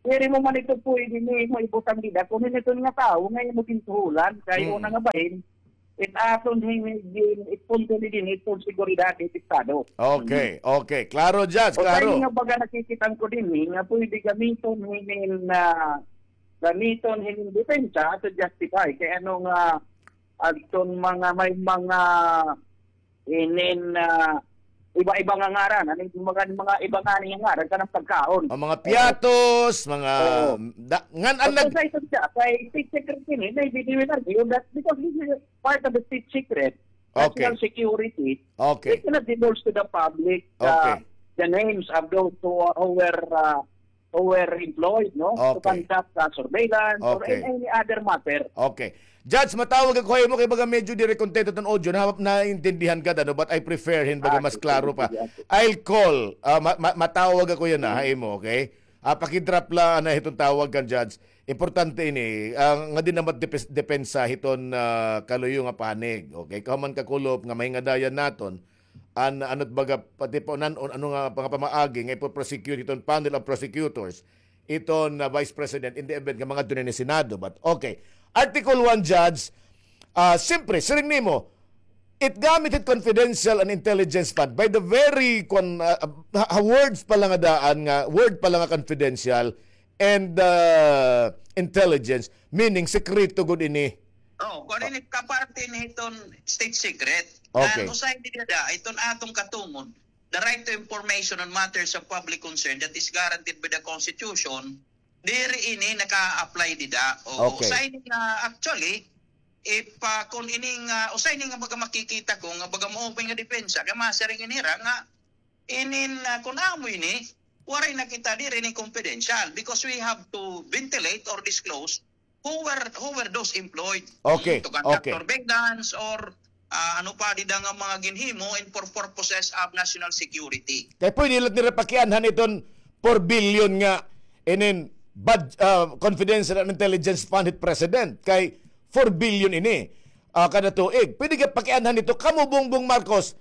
diri mo man ito pwede nimo ibutang dida, kun hin iton nga tawo nga imo ginsuhulan, kay una nga bahin, it aton hin, hin, it punto ni dinhi, it seguridad, it Estado. Okay, okay. Klaro, Judge, klaro. Usa ini nga baga nakikita ko dinhi, nga pwede gamiton hinin, ah, gamiton hinin depensa to justify kay ano nga adton mga, may mga inin, ah, iba-iba nga ngaran, ano, mga, mga iba nga nga ngaran kanang pagkaon. Ang mga piatos, mga da-, ngan an nag- Kay state secret ini, maybe they will argue that because this is part of the state secret, national security, they cannot divulge to the public, uh, the names of those who, who were, uh, who were employed, no, to conduct, uh, surveillance or any, any other matter. Okay. Judge, matawag ako ha imo kay baga medyo diri kontento iton audio, na, naintindihan ka, ano, but I prefer hin baga mas klaro pa. I'll call, ah, ma-, ma-, matawag ako yana ha imo, okay? Ah, paki-drop la ana hiton tawag kan Judge. Importante ini, ah, nga dinhi naman depes-, depensa hiton, ah, kaluyo nga panig, okay? Kahuman kakulop nga mahingadayan naton, an, ano it baga, pati pa, nan, ano nga mga pamaagi nga ipo-prosecute hiton panel of prosecutors, iton, ah, Vice President in the event nga mangadto na ini Senado. But, okay. Article one, Judge, ah, siyempre, siring nimo, it gamit it confidential and intelligence fund by the very, kwan, ah, ha, ha words pa la nga daan nga, word pa la nga confidential and, ah, intelligence, meaning, sekreto gud ini. Oh, kung ano ini kaparte ni hiton state secret. Okay. Ngan usahay dida, iton aton katungod, the right to information on matters of public concern that is guaranteed by the Constitution, diri ini naka-apply dida. O, okay. Usahay ini nga, actually, if, ah, kung ini nga, usahay ini nga baga makikita ko nga baga maupay nga depensa, kay masiring ini hira nga, inin, ah, kun amo ini, waray na kita diri ini confidential because we have to ventilate or disclose who were, who were those employed, okay, to conduct surveillance or, ah, ano pa dida nga mga ginhimo in for purposes of national security. Kay pwede la nira pakianhan iton four billion nga inin bud-, ah, confidential and intelligence fund hit president. Kay four billion ini, ah, kada tuig. Pwede ka pakianhan ito, kamo Bongbong Marcos,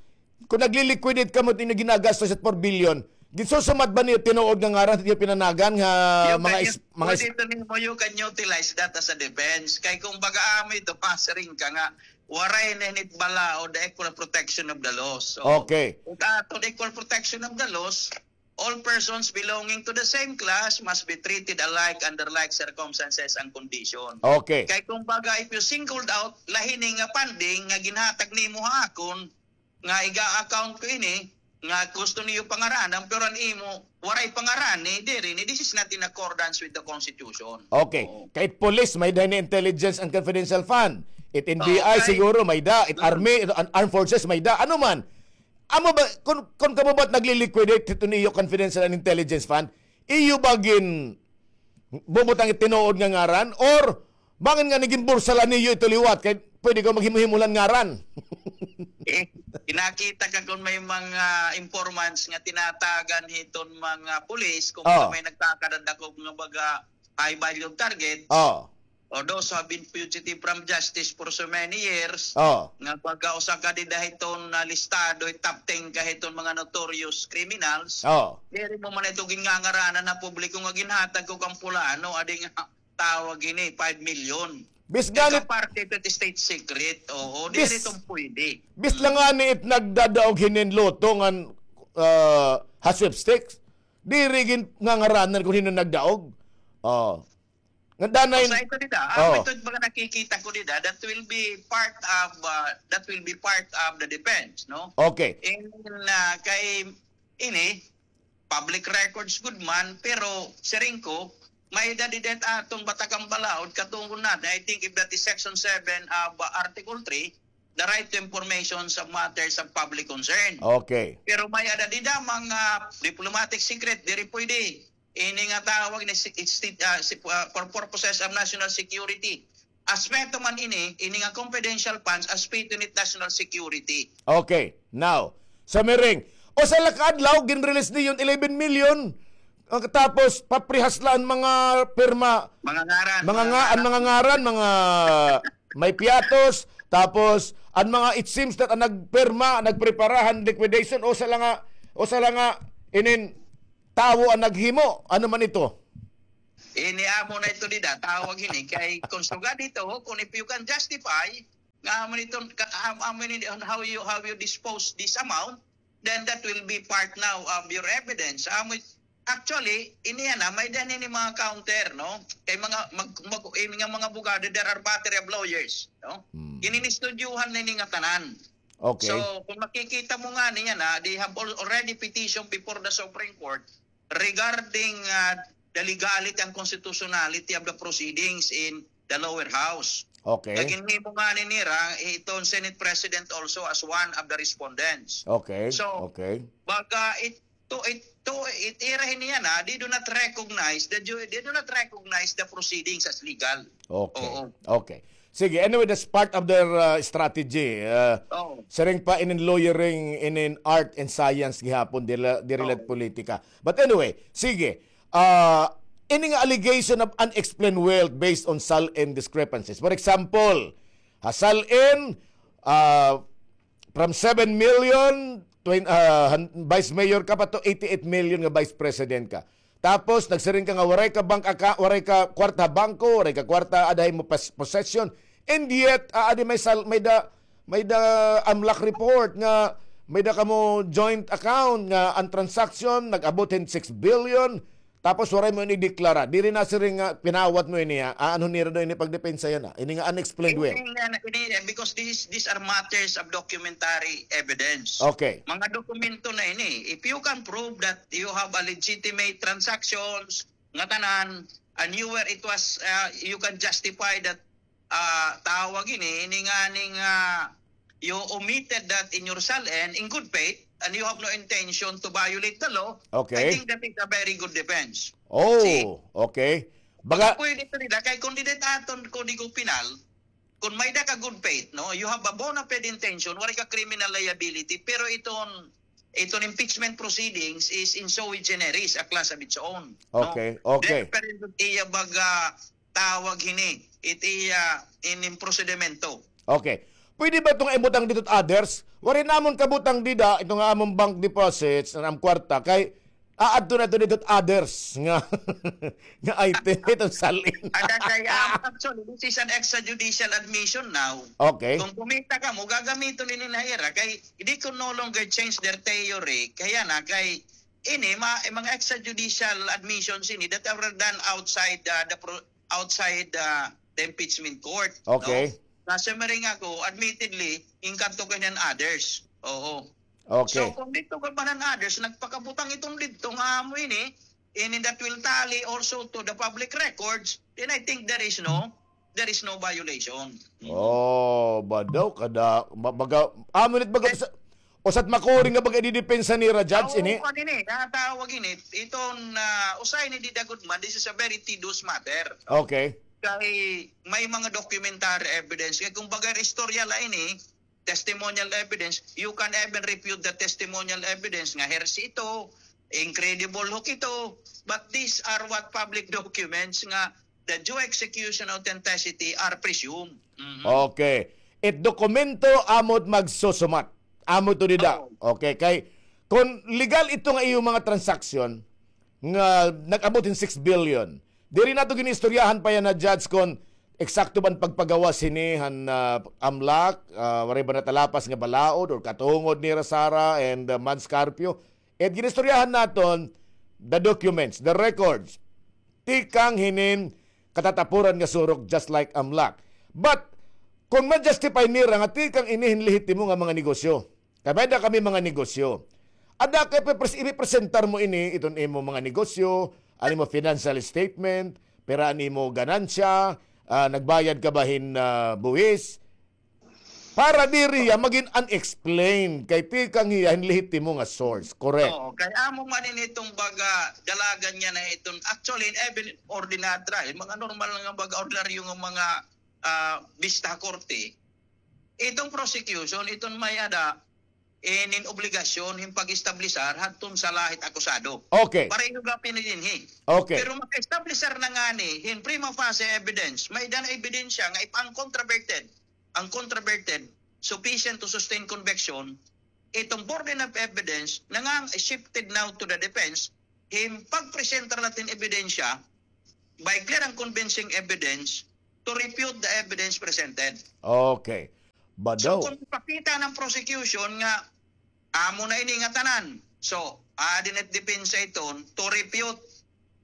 kun nagli-liquidate kamo it inyo ginagastos it four billion, ginsusumad ba niyo tinuod nga ngaran it iyo pinanagan nga mga is-, mga is- Pwede ito nimo, you can utilize that as a defense. Kay kung baga amo ito, masiring ka nga, waray na ini it balaod, the equal protection of the laws. So, okay. Kung ato, the equal protection of the laws, all persons belonging to the same class must be treated alike under like circumstances and condition. Okay. Kay kung baga, if you singled out, la hini nga funding nga ginhatag nimo ha akon, nga iga-account ko ini, nga gusto niyo pangaranan, pero an imo, waray pangaran, eh, diri, ni, this is not in accordance with the Constitution. Okay. Oo. Kay it police, may-ada ini intelligence and confidential fund. It N B I, okay, siguro, may-ada. It army, it an armed forces, may-ada. Ano man? Amo ba, kun, kun kamo ba it nagli-liquidate hito niyo confidential and intelligence fund, iyo ba ginbubutang it tinuod nga ngaran? Or bangin nga ginbursa la niyo ito liwat, kay pwede ka maghimo-himo la hin ngaran? Eh, kinakita ka kun may mga informants nga tinatagan hiton mga pulis, kun may nagkakadadakop nga baga high value target. Oh. Or those who have been fugitive from justice for so many years, oh, nga pagka usa ka dida hiton, ah, listado, top ten ka hiton mga notorious criminals, oh, diri mo man ito ginngangaranan ha publiko nga ginhatag ko kan pulano, adi nga tawag ini, five million. Bis gani, ika parte ito state secret, oo, diri ito pwede. Bis la ngani it nagdadaog hinin lotto ngan ah, ha sweepstakes. Diri gin ngangaranan kon hin-o nagdaog. Oh. Nga danay. Sa ito dida, ah, oh, ito mga nakikita ko dida, that will be part of, ah, that will be part of the defense, no? Okay. In, ah, kay ini, public records gud man, pero siring ko, may-ada dida it aton batakan balaod, katungod na, I think if that is section seven of, ah, Article three, the right to information sa matters of public concern. Okay. Pero may-ada dida mga diplomatic secret, diri pwede. Ini nga tawag ni si, si, ah, si, ah, for purposes of national security. Aspeto man ini, ini nga confidential funds, aspeto ni national security. Okay. Now, sa miring, usa la ka adlaw, gin-release niyo eleven million. Ang tapos, paprihas la an mga pirma. Mga ngaran, mga mga nga-, an ngaran. Mga ngaran, mga may piatos. Tapos, an mga, it seems that an nagpirma, nagprepara han liquidation, usa la nga, usa la nga inin tawo an naghimo. Ano man ito? Ini amo na ito dida, tawag ini. Kay kung sugad ito, kung if you can justify, nga amo nito, ka-, am-, amo ini on how you, how you dispose this amount, then that will be part now of your evidence. Amo it-, actually, ini yana, may-ada ini mga counter, no? Kay mga, mag-, mag-, ini nga mga abogado, there are battery of lawyers, no? Hmm. Ini, inistudyuhan na ini nga tanan. Okay. So, kung makikita mo ngani yana, they have al-, already petitioned before the Supreme Court regarding, ah, the legality and constitutionality of the proceedings in the lower house. Okay. Kay ginhimo ngani nira, iton Senate President also as one of the respondents. Okay. So, okay, baga it-, to, it-, to, it-, ira ini yana, they do not recognize the ju-, they do not recognize the proceedings as legal. Okay. Oo. Okay. Sige, anyway, that's part of their, uh, strategy. Uh, oo. Siring pa, inin lawyering, inin art and science gihapon, diri la-, diri la it, oo, politika. But anyway, sige. Uh, ini nga allegation of unexplained wealth based on SALN discrepancies. For example, ha SALN, uh, from seven million, twen-, ah, han-, vice mayor ka pa to eighty-eight million nga vice president ka. Tapos, nagsiring ka nga waray ka bank acca-, waray ka kwarta bangko, waray ka kwarta aada ha imo pos-, possession. And yet, ah, aadi may sal-, may-ada, may-ada AMLAC report nga may-ada kamo joint account nga an transaction nag-abot hin six billion. Tapos waray mo ini deklara. Diri na siring nga pinawat mo ini, ha? Aanhon nira daw ini pagdepensa yana. Ini nga unexplained wealth. Ini nga, ini, because these, these are matters of documentary evidence. Okay. Mga dokumento na ini. If you can prove that you have a legitimate transactions, nga tanan, and you were, it was, uh, you can justify that ah, tawag ini, ini nga, ini nga, you omitted that in your SALN in good faith and you have no intention to violate the law, okay, I think that is a very good defense. Oh, see? Okay. Baga pwede ito nila, kay kung dida it aton Kodigo Penal, kung may-ada ka good faith, no, you have a bona fide intention, waray ka criminal liability, pero iton, iton impeachment proceedings is in sui generis, a class of its own, no? Okay, okay. Then, pero iya baga, tawag hini, it iya inin prosedimento. Okay. Pwede ba ito nga ibutang didto it others? Waray namon kabutang dida, ito nga amon bank deposits, an am kwarta, kay aadto na ito didto it others nga, nga item, iton SALN. Ada kay, ah, actually, this is an extrajudicial admission now. Okay. Kung kumita kamo, gagamiton ini na ira, kay they could no longer change their theory. Kay yana, kay ini, ma-, mga extrajudicial admissions ini that were done outside, uh, the pro-, outside, uh, the impeachment court, no? Okay. Nasiring ako, admittedly, inkadto ko hin others. Oo. Okay. So, kung didto ka man hin others, nagpakabutang iton didto nga amo ini, and that will tally also to the public records, then I think there is no, there is no violation. Oh, ba daw kada, ma-, baga, amo nit baga, eh, sa, usa it makuring nga pag-ididepensa nira, Judge, ini? Aw, kuan ini, natawag ini. Iton, ah, usa ini dida gud man, this is a very tedious matter, no? Okay. Kay may mga documentary evidence. Kay kumbaga, istorya la ini, testimonial evidence, you can even refute the testimonial evidence nga hearsay ito, incredible hook ito. But these are what public documents nga the due execution authenticity are presumed. Mhm. Okay. It dokumento amo it magsusumat. Amo ito dida. Oo. Okay, kay kon legal ito nga iyo mga transaksyon nga nag-abot hin six billion, diri nato gin-istoryahan pa yana, Judge, kon eksakto ba an pagpagawas hini han, ah, AMLAC, ah, waray ba natalapas nga balaod or katungod nira Sara and, ah, Mads Carpio. It ginistoryahan naton the documents, the records, tikang hinin katatapuran nga surok, just like AMLAC. But kon ma-justify nira nga tikang ini hin lehitimo nga mga negosyo, kay may-ada kami mga negosyo. Ada kay ipipres-, ipipresentar mo ini, iton imo mga negosyo, an imo financial statement, pira an imo ganansya, ah, nagbayad ka ba hin, ah, buwis? Para diri hiya magin unexplained, kay tikang hiya hin lehitimo nga source, correct? Oo, kay amo man ini iton baga dalagan niya na iton, actually, in even ordinadra, hin mga normal nga baga ordinaryo nga mga, ah, bista ha korte, iton prosecution, iton may-ada inin obligasyon hin pag-establisar hadton sala hit akusado. Okay. Pareho gihap ini dinhi. Okay. Pero maka-establisar na ngani hin prima facie evidence, may-ada na ebidensya nga if uncontroverted, uncontroverted, sufficient to sustain conviction, iton burden of evidence nangang shifted now to the defense, hin pagpresentar la hin ebidensya by clear and convincing evidence to refute the evidence presented. Okay. But so, daw, kung ipakita ng prosecution nga amo na ini nga tanan, so, aadi na it depensa iton to refute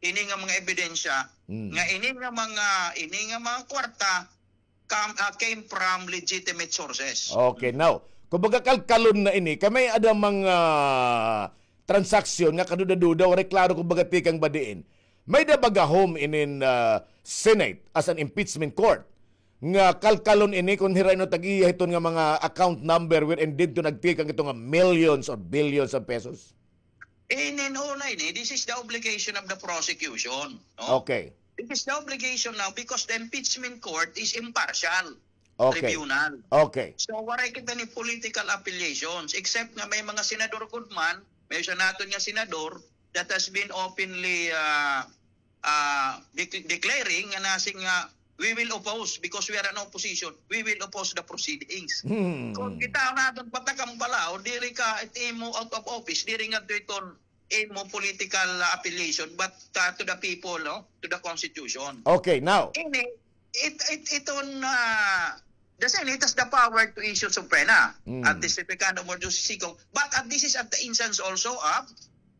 ini nga mga ebidensya, mm, nga ini nga mga, ini nga mga kwarta kam-, ah, came from legitimate sources. Okay, now, kumbaga kalkalon na ini, kay may-ada mga transaksyon nga kaduda-duda, waray klaro kumbaga tikang ba diin. May-ada ba gahom inin, ah, Senate as an impeachment court nga kalkalon ini kon hira ino tag-iya hiton nga mga account number wherein didto nagtikang ito nga millions or billions of pesos? Inin una ini, this is the obligation of the prosecution, no? Okay. This is the obligation now because the impeachment court is impartial, okay, tribunal. Okay. So, waray kita ni political affiliations, except nga may mga senador gud man, may usa naton nga senador that has been openly, ah, ah, dec-, declaring nga nasiring nga, "We will oppose because we are an opposition. We will oppose the proceedings." Hmm. Kon kita naton patakam bala, o diri ka, it imo out of office, diri nga to iton imo political, ah, affiliation, but, ah, to the people, no? To the constitution. Okay, now. Ini, it, it, iton, ah, the Senate has the power to issue subpoena, mm, at the Second Emergency Sitio, but at this is at the instance also of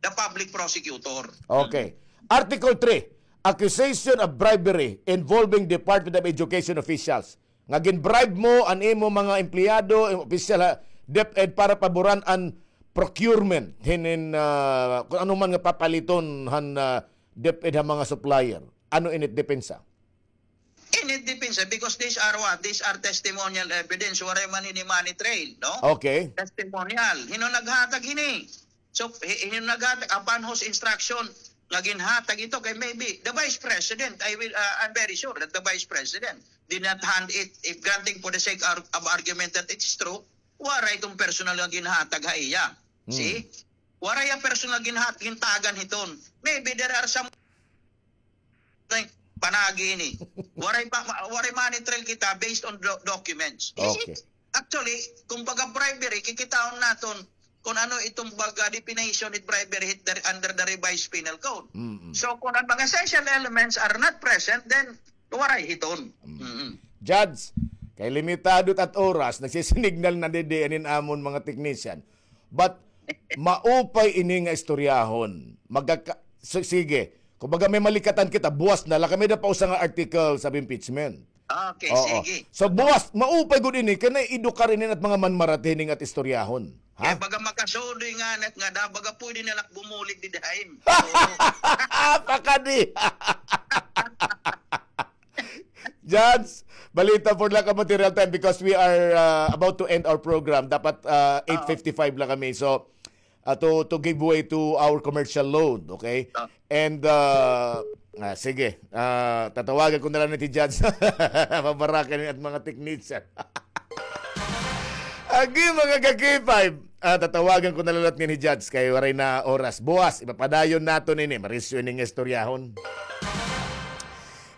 the public prosecutor. Okay. Article three, accusation of bribery involving Department of Education officials. Nga gin-bribe mo an imo mga empleyado, imo opisyal ha DepEd para paboran an procurement hinin, ah, kon ano man nga papaliton han, ah, DepEd ha mga supplier. Ano init depensa? Init depensa because these are what? These are testimonial evidence. Waray man ini money trail, no? Okay. Testimonial. Hin-o naghatag hini? So, hi-, hin-o naghatag, upon whose instruction nga ginhatag ito? Kay maybe the Vice President, I will, uh, I'm very sure that the Vice President did not hand it, if granting for the sake ar-, of argument that it's true, waray iton personal nga ginhatag ha iya. Hmm. See? Waray iya personal ginhat-, gintagan hiton. Maybe there are some Ay, panagi ini. Waray pa, ma-, waray money trail kita based on do-, documents. You see? Okay. Actually, kumbaga bribery, kikitaon naton kon ano iton baga definition it bribery hit the, under the revised penal code. Mm-mm. So, kon an mga essential elements are not present, then waray hiton. Mm. Mm-mm. Judge, kay limitado it at oras, nagsisinignal na didi an amon mga technician. But maupay ini nga istoryahon. Magkaka-, si-, sige. Kumbaga may malikatan kita, buwas na la kami na pa usa nga article sa impeachment. Okay, oo, sige. So buwas, maupay gud ini, kay na-edukar ini at mga manmarati hini nga istoryahon. Ha? Kay baga makasudoy nga anak nga da, baga pwede na la bumulig didi hain. Pakadi. Judge, balita for lack of material time because we are, uh, about to end our program. Dapat, uh, eight fifty-five la kami. So, uh, to, to give way to our commercial load, okay? Ah. And, uh, ah, sige, ah, tatawagan ko na lang ni Judge. Pabarakan niya at mga technician. Agi, mga ka-K five. Ah, tatawagan ko na lang ni Judge kay waray na oras. Buwas, ipapadayon naton ini. Marisyo ini nga istoryahon.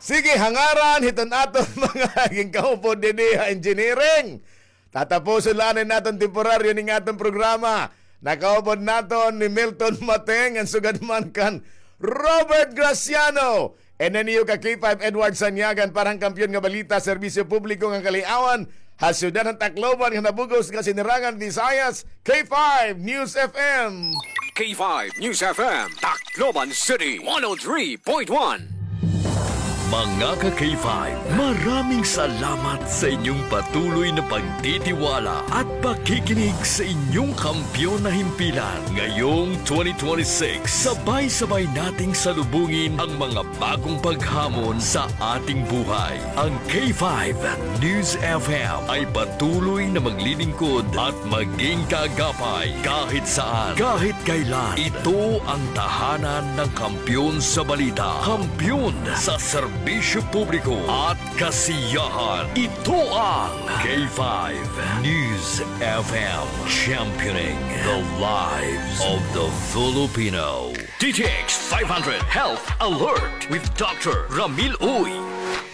Sige, ha ngaran hiton aton mga ginkaupod didi ha engineering. Tatapuson la anay naton temporaryo ning aton programa. Nakaupod naton ni Milton Mateng, an sugad man kan Robert Graciano. And then you ka K five Edward Sanyagan para han Kampiyon nga Balita, Serbisyo Publiko ngan Kaliawan, ha siyudad han Tacloban ngan ha bug-os nga Sinirangan Visayas, K five News F M. K five News F M, Tacloban City, one oh three point one. Mga ka-K five, maraming salamat sa inyong patuloy na pagtitiwala at pakikinig sa inyong kampiyon na himpilan. Ngayong twenty twenty-six, sabay-sabay nating salubungin ang mga bagong paghamon sa ating buhay. Ang K five News F M ay patuloy na maglilingkod at maging kaagapay kahit saan, kahit kailan. Ito ang tahanan ng kampiyon sa balita, kampiyon sa serbisyo publiko at kasiyahan. Ito ang K five News F M, championing the lives of the Filipino. D T X five hundred Health Alert with Doctor Ramil Uy.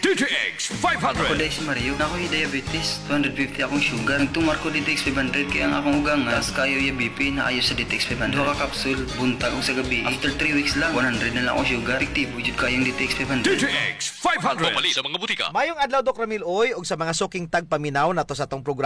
D T X five hundred. Ako diay si Mario. Naa ko hi diabetes, two hundred fifty akong sugar. Nagtumar ko D T X five hundred kay ang akong ugangan, taas kaayo iya B P, naayo sa D T X five hundred. Duha ka capsule, buntag ug sa gabii. After three weeks lang, one hundred na lang akong sugar. Epektibo jud kaayo ang D T X five hundred. D T X five hundred. Mapalit sa mga butika. Mayong adlaw, Doc Ramil Uy, ug sa mga suking tagpaminaw nato sa atong programa.